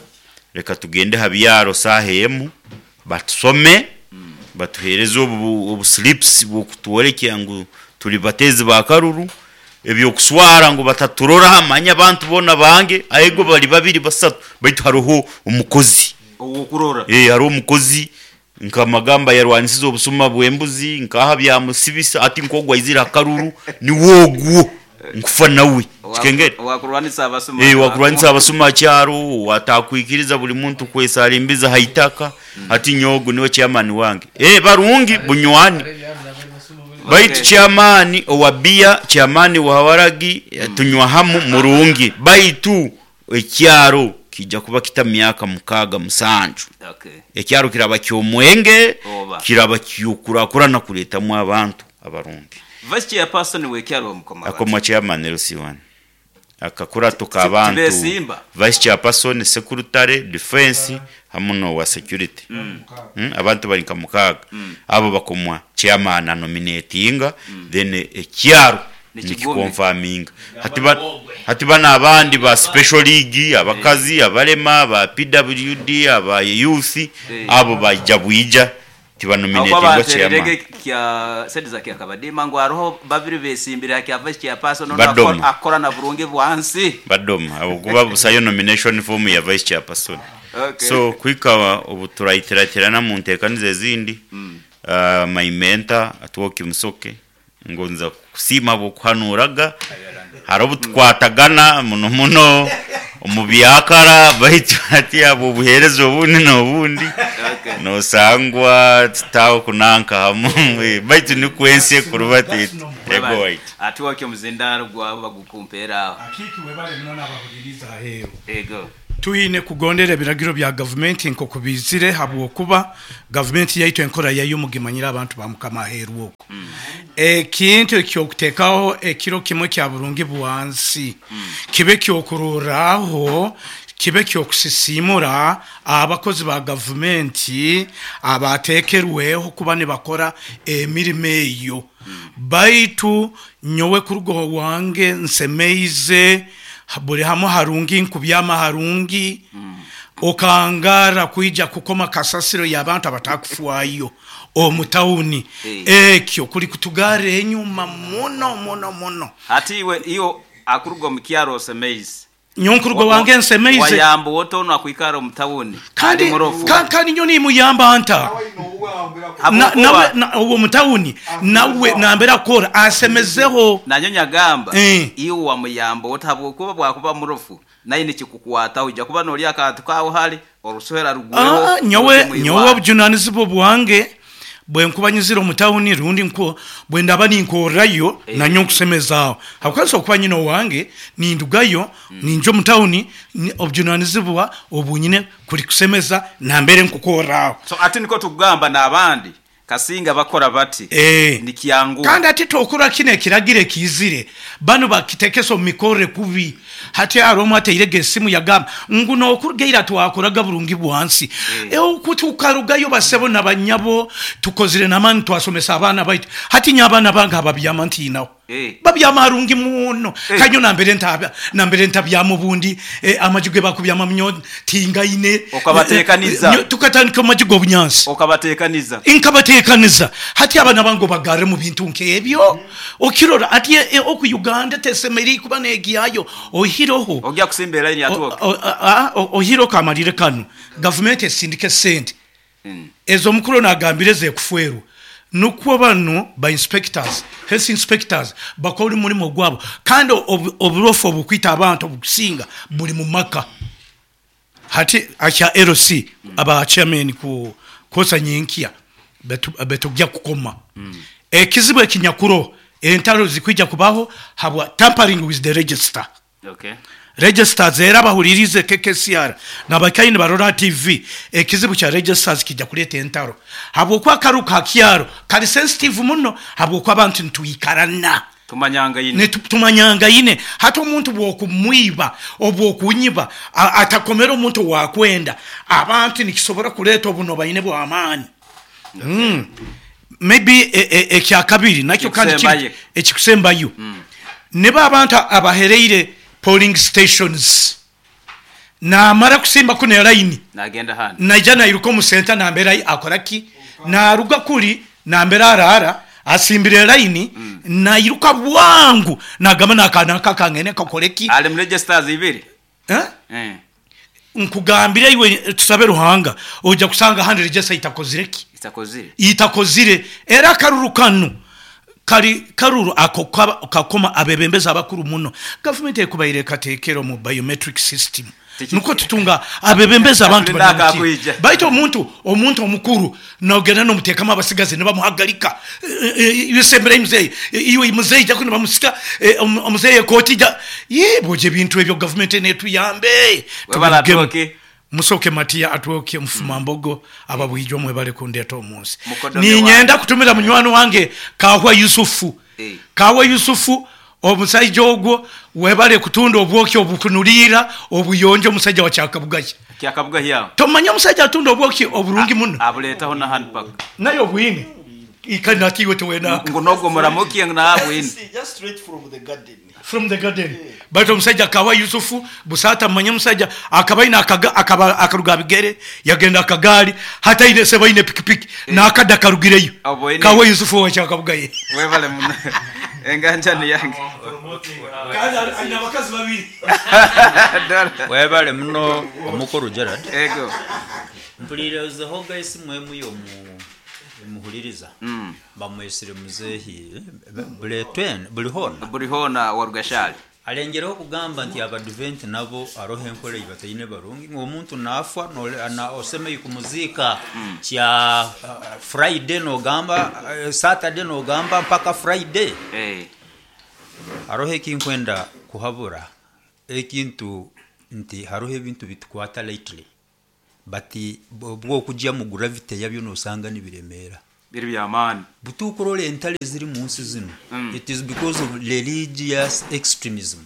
Reka tugende ha byaro saaha emu batusome, batuheereze obu slips bw'okutworekya ngu turi bateezi ba karuru. Ebyokuswara ngu bataturora manya abantu boona bange aego bari babiri basatu baitu hariho omukozi Ow'okurora. Hariho omukozi nka Magamba yarwanisize obusuma bw'embuzi nkaha byamusibisa ati nk'ogu aizire aha karuru niwe ogwo nkufa nawe, kikengere. Owakurwanisa abasuma. Owakurwanisa abasuma aha kyaro, owatakwikiriza buri muntu kwesarimbiza aha itaka, ati nyowe ogu niwe chairman wange. Barungi bunywani baitu chairman owa biya, chairman wa waragi tunywa hamu murungi baitu ekyaro kiija kuba kita myaka 6 7. Ekyaro kiraba ky'omwenge, kiraba ky'okurakurana kureetamu abantu abarungi. Vice Chairperson w'ekyaro bamukoma bata? Akomwa Chairman LC1. Akakurato k'abantu Tibesimba. Vice Chairperson, Secretary, Defence hamu n'owa Security. Abantu bari nka 6. Abo bakomwa Chairman anominatinga then ekyaro nikikonfaminga. Hati hati banu abandi ba Special League, abakazi, abalema, aba PWD, aba youth, abo baija bwija Ahabw'okuba tibanominatingwa banteereire chairman. kya sente za Kyakabadiima ngu hariho babiri besimbire aha kya Vice Chairperson onu Badoma. akora na burungi bwansi. Badoma ahabw'okuba busayo nomination form ya Vice Chairperson. So kuhika obu turaitiratirana mu nteekaniza ezindi, my mentor Atwoki Musoke ngonza kukusiima ahabw'okuhanuuraga. Hariho obu tukwatagana muno muno omu byakara baitu hati ahabw'obuheereza obundi n'obundi. Nosangwa tutaho kunanka hamu baitu nikwo ensi ekurubata eti. Ego waitu. Atwoke omuzindaro gwawe bagukumpeera aho. Akiiki webale muno n'abahuliriza aheeru. Ego. Twine kugondera ebiragiro bya gavumenti nk'oku biizire, habwokuba gavumenti yaitu enkora yayo mugimanyire abantu ba Mukama aheeru oku. Ekintu eky'okuteekaho ekiro kimwe kya burungi bwansi kibe kyokurorraho, kibe kyokusisiimura abakozi ba gavumenti abateekerweho kuba nibakora emirimo eyo. Baitu nyowe kuruga owange nsemeize, buli hamu harungi, nkubyama harungi, okangara kwija kukoma kasasiro y'abantu abatakufwayo omu tawuni, ekyo kuli kutugarra enyuma muno muno muno. Hati iwe iyo akuruga omu kyaro osemeize. Nyowe nkuruga owange nsemeize. Wayamba ota onu akwikara omu tawuni Kandi ali murofu? Kandi nyowe nimuyamba nta? Habwokuba Nawe omu tawuni nawe nambere akukora asemezeho. Nanyowe nyagamba iwe wamuyamba ota, habwokuba bwakuba murofu naye nikikukwataho, oija kuba nolya akantu kawe hali orusohera rugweho. Nyowe oije nyowe mwirwarro. Obujunanizibwa bwange bwenkuba nyizire omu tawuni rundi nko bwendaba ninkorrayo nanyowe nkusemezaaho, habwokuba nsobora kuba nyine owange nindugayo ninja omu tawuni, obujunanizibwa obunyine kuli kusemeza nambere nkukorraho. So ati nikwo tukugamba n'abandi kasinga bakora bati nikyanguha. Kandi hati tokora kinu ekiragiro ekiizire, banu bakitekesa omu mikorre kubi. Hati haroho omu atairege esimu yagamba ngu n'okuruga ira twakoraga burungi bwansi. Oku tukarugayo basebo na banyabo tukozire n'amaani twasomesa abaana baitu. Hati nyowe abaana bange ababyama ntiinaho. Babyama harungi muno. Kanyo nambere ntabya, nambere ntabyama obundi, amaju ge bakubyamamu nyowe tingaine. Okabateekaniza. Nyowe tukatandika omu maju g'obunyansi. Okabateekaniza. Nkabateekaniza. Hati abaana bange obagarre mu bintu nk'ebyo? Okirora ati oku Uganda tesemeriire kuba n'egyayo oihireho. Ogya kusimba eraini atwoke. Oihireho kamalire kanu, gavumenti esindike sente ez'omukuru onu agambire ez'ekufwerwa nukwo banu ba inspectors, health inspectors bakore omurimo gwabo, kandi oburofu obukwita abantu obukusinga buli mu maka. Hati akya LC aba chairman ku kwosa nyenkya betugya kukoma ekizibu ekinyakuroho, entaro zikwija kubaho habwa tampering with the register. Registers era abahuliriize KKCR n'abakaire nibarora ha TV, ekizibu kya registers kiija kuleeta entaro habwokuba akaru ka kyaro kali sensitive muno habwokuba abantu nitwikarana. Tumanyangaine. Tumanyangaine. Hati omuntu obw'okumwiba, obw'okunyiba, atakomere omuntu ow'akwenda, abantu nikisobora kuleeta obunobaine bw'amaani. Maybe ekyakabiri nakyo kandi kiri Ekikusembayo. ekikusembayo, nibo abantu abahereire polling stations, namara kusimba kunu elaini, Nagenda handi. naija nairuka omu senta nambere akora ki, naruga kuri nambere arara asimbire elaini, nairuka bwangu nagamba naka naka kangende kakore ki. Ali mu registers ibiri. Eh? Nkugambire iwe tusabe Ruhanga, oija kusanga ahandi register itakozire ki? Itakozire. Itakozire. Era akaruru kanu kali karuru ako kakoma abebembezi abakuru muno. Gavumenti ekubaire ekateekera omu biometric system nukwo tutunga abebembezi abantu Tulina bari omu akakwija. Baitu omuntu omukuru nogenda nomuteekamu abasigazi nibamuhagarika. Iwe semberayo muzeeyi, iwe muzeeyi jaku nibamusika, omuzeeyi ekooti ja, yee, bwoja ebintu ebyo gavumenti netuyambe. Webale Tubirugemu. atwoke. Musoke Matiya atwoke Mufuma Mbogo ababwijwa mwebale kundeeta omu nsi. Mukodomi Niinyenda wange. kutumira munywani wange Kahwa Yusufu. Kahwa Yusufu omusaija ogwo webale kutunda obwoki obukunuriira obuyonjo omusaija wa Kyakabugaya. Kyakabugaya aho. Tomanya omusaija atunda obwoki oburungi muno. Abuleetaho na hanu paka. Naye obwine. Ikali nati iwe towenaka. Ngu nogwo muramuki ngu nawe abwine. Just straight from the garden. From the garden. Baitu omusaija Kahwa Yusufu busaata mumanya omusaija akaba aine akaba akaruga aha bigere yagenda akagaari hati aine sebo aine pikipiki n'akada karugireyo. Oboine. Kahwa Yusufu owa Kyakabugaye. Webale muno. Enganjani yange. Kandi aine abakazi babiri. Webale muno omukuru Gerald. Ego. Mpuliire ozehoga esimu emu y'omu emuhuliriza. Bamwesire muzeehi buli hoona. Buli hoona wa Rugashali. Alengereho kugamba nti abadvent nabo aroho enkora ei bataine barungi ngu omuntu naafa osemei kumuziika kya Friday nogamba Saturday nogamba mpaka Friday. Haroho ekinkwenda kuhabura ekintu nti haroho ebintu bitukwata lightly but obwokujya mu gravity yabyo nosanga nibiremeera. Biri by'amaani. Butukurora entale eziri mu nsi zinu, it is because of religious extremism.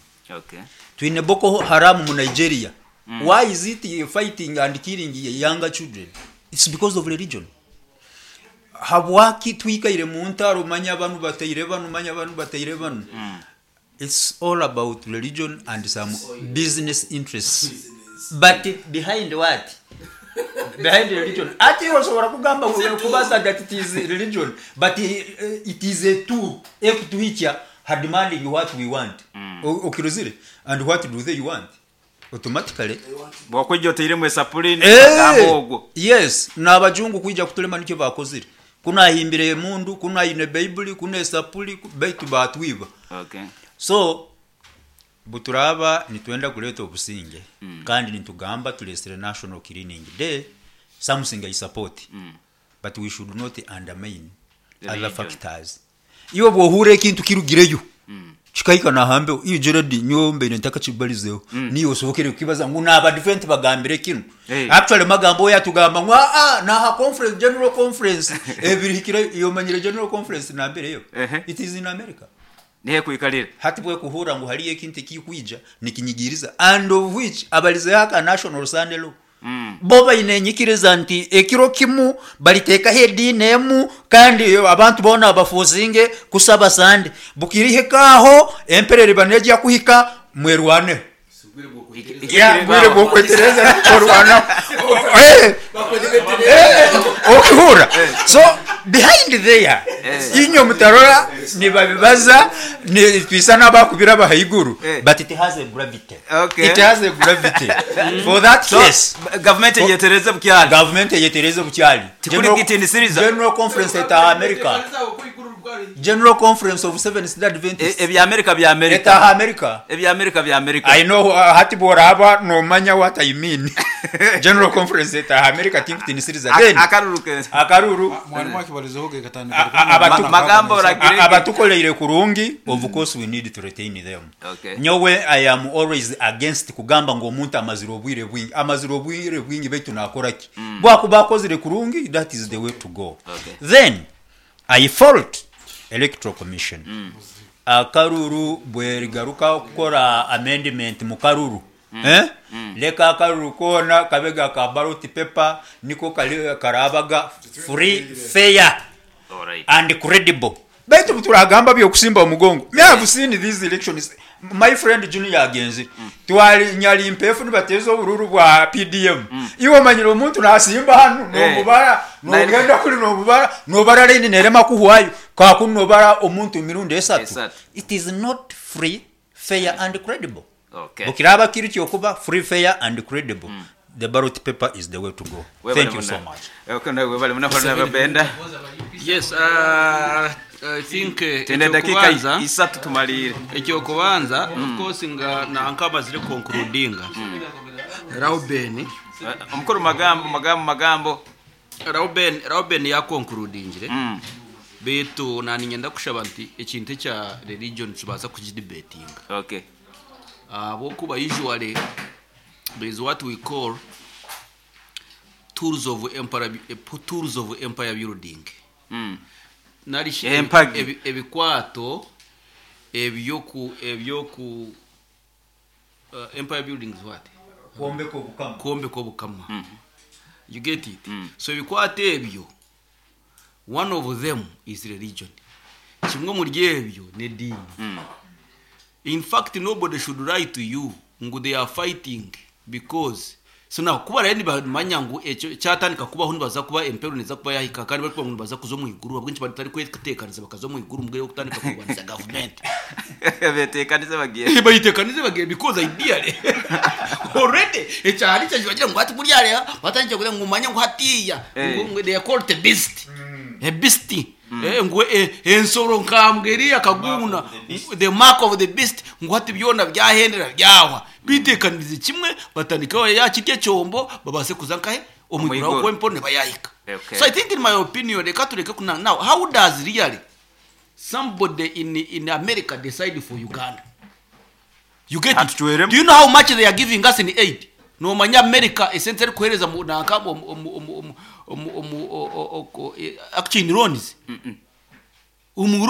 Twine Boko Haram mu Nigeria. Why is it fighting and killing younger children? It's because of religion. Habwaki twikaire mu ntaro manya banu bataire banu manya banu bataire banu. It's all about religion and some business interests. But behind what? Behind religion. Ati osobola kugamba kubaza that it is religion, but it is a tool ekutuhikya ha demanding what we want. Okirozire? And what do they want? Automatically. Bwokwijja otairemu esapuri nibagamba ogwo. Yes, n'abajungu kwija kutulema nikyo bakozire. Kunu ahimbire emundu, kunu aine Baibuli, kunu esapuri, baitu batwiba. So buturaba nitwenda kuleta obusinge kandi nitugamba tulesere National Cleaning Day, something I support. But we should not undermine The other religion. factors. Iwe bwohura ekintu kirugireyo kikahika nahambeho, iyo Gerard nyowe mbaire ntakakibarizeho. Niyo osobokere kukibaza ngu n'abadvent bagambire kinu. Actually magambo oyo atugamba ngu naha conference, general conference ebirihikire, iyo manyire general conference nambireyo. It is in America. Nihe kwikalira. Hati bwe kuhura ngu hariyo ekintu ekikwija nikinyigiriza, and of which abalizeho aka National Sunday Law. Bo baine enyikiriza nti ekiro kimu baliteekaho ediini emu kandi abantu boona bafosinge kusaba Sunday. Bukirihikaaho empereri banejja kuhika mwerwaneho. Ya, bwire bwokwetereza orwana. Okihura. So behind there inyo mutarora nibabibaza ni twisa n'abakubira abahaiguru, but it has a gravity. It has a gravity. For that So, case, government eyetereze bukyali. Government eyetereze bukyali. Tikuri kitinisiriza. General Conference eta America. General Conference of Seventh Day Adventists. Ebya America bya America. Eta America. Ebya America bya America. I know, hati boraba no manya what I mean. General Conference eta America tinkutinisiriza. Then Akaruru ke. Akaruru. Mwalimu akibalizeho ge katandika. Magambo oragire. Abatukoleire kurungi, of course we need to retain them. Nyowe I am always against kugamba ngu omuntu amazire obwire bwingi. Amazire obwire bwingi baitu nakora ki? Bwakuba akozire kurungi, that is the way to go. Then I fault Electoral Commission. Akaruru bwerigaruka kukora amendment mu karuru. Leka akaruru kona kabega ka ballot paper niko karabaga free, fair and credible. Baitu turagamba byokusimba omugongo. Me have seen these elections. My friend Junior agenzi. Twali nyali mpefu nibateza obururu bwa PDM. Iwe manyira omuntu nasimba hano nomubara, nogenda kuri nomubara, nobara line nerema kuhwayo. Kwa kunobara omuntu emirundi esatu. It is not free, fair and credible. Bukiraba kiri kyokuba free, fair and credible. The ballot paper is the way to go. Webale Thank you so muna. much. Okay, no, webale muna honorable Benda. Yes, I think Tene dakika ekyokubanza isatu tumalire. Ekyokubanza, of course nga nanka amazire concludinga. Rauben. Omukuru magambo magambo magambo. Rauben ya concludingire. Beitu naninyenda kushaba nti ekintu ekya religion tubaza kugidebatinga. Abokuba usually there is what we call tools of empire, tools of empire building. Nari Empagi. Ebikwato ebyoku empire building is what? Kwombeka obukama. Kwombeka obukama. You get it? So ebikwato ebyo, one of them is religion. Kimwe muri ebyo ni dini. In fact, nobody should lie to you ngu they are fighting because so now kuba rero nibamanya ngu ekyo kyatandika kubaho nibaza kuba empero neza kuba yahika kandi bari kuba ngu nibaza kuza omu iguru, ahabw'enki batari kweteekaniza bakaza omu iguru mubwire bw'okutandika kurwanisa gavumenti. Beteekanize bagiye. Bayiteekanize bagiye because ideally already ekyahari kyakyo bagira ngu hati buriya reba batandikire kugira ngu manye ngu hatiya, ngu they are called a beast. A beast. Ngu ensoro nkambwe eri akaguna the mark of the beast, ngu hati byona byahendera byahwa, bitekanirize kimwe, batandikeho yakirya ekyombo babase kuza nkahe omwiguru. Omwiguru. Aho kwempo nibayahika. Okay. So I think, in my opinion, reka tureke kuna. Now, how does really somebody in America decide for Uganda? You get it? Do you know how much they are giving us in aid? Nomanya America esente eri kuhereza mu nanka mu actually in loans, omu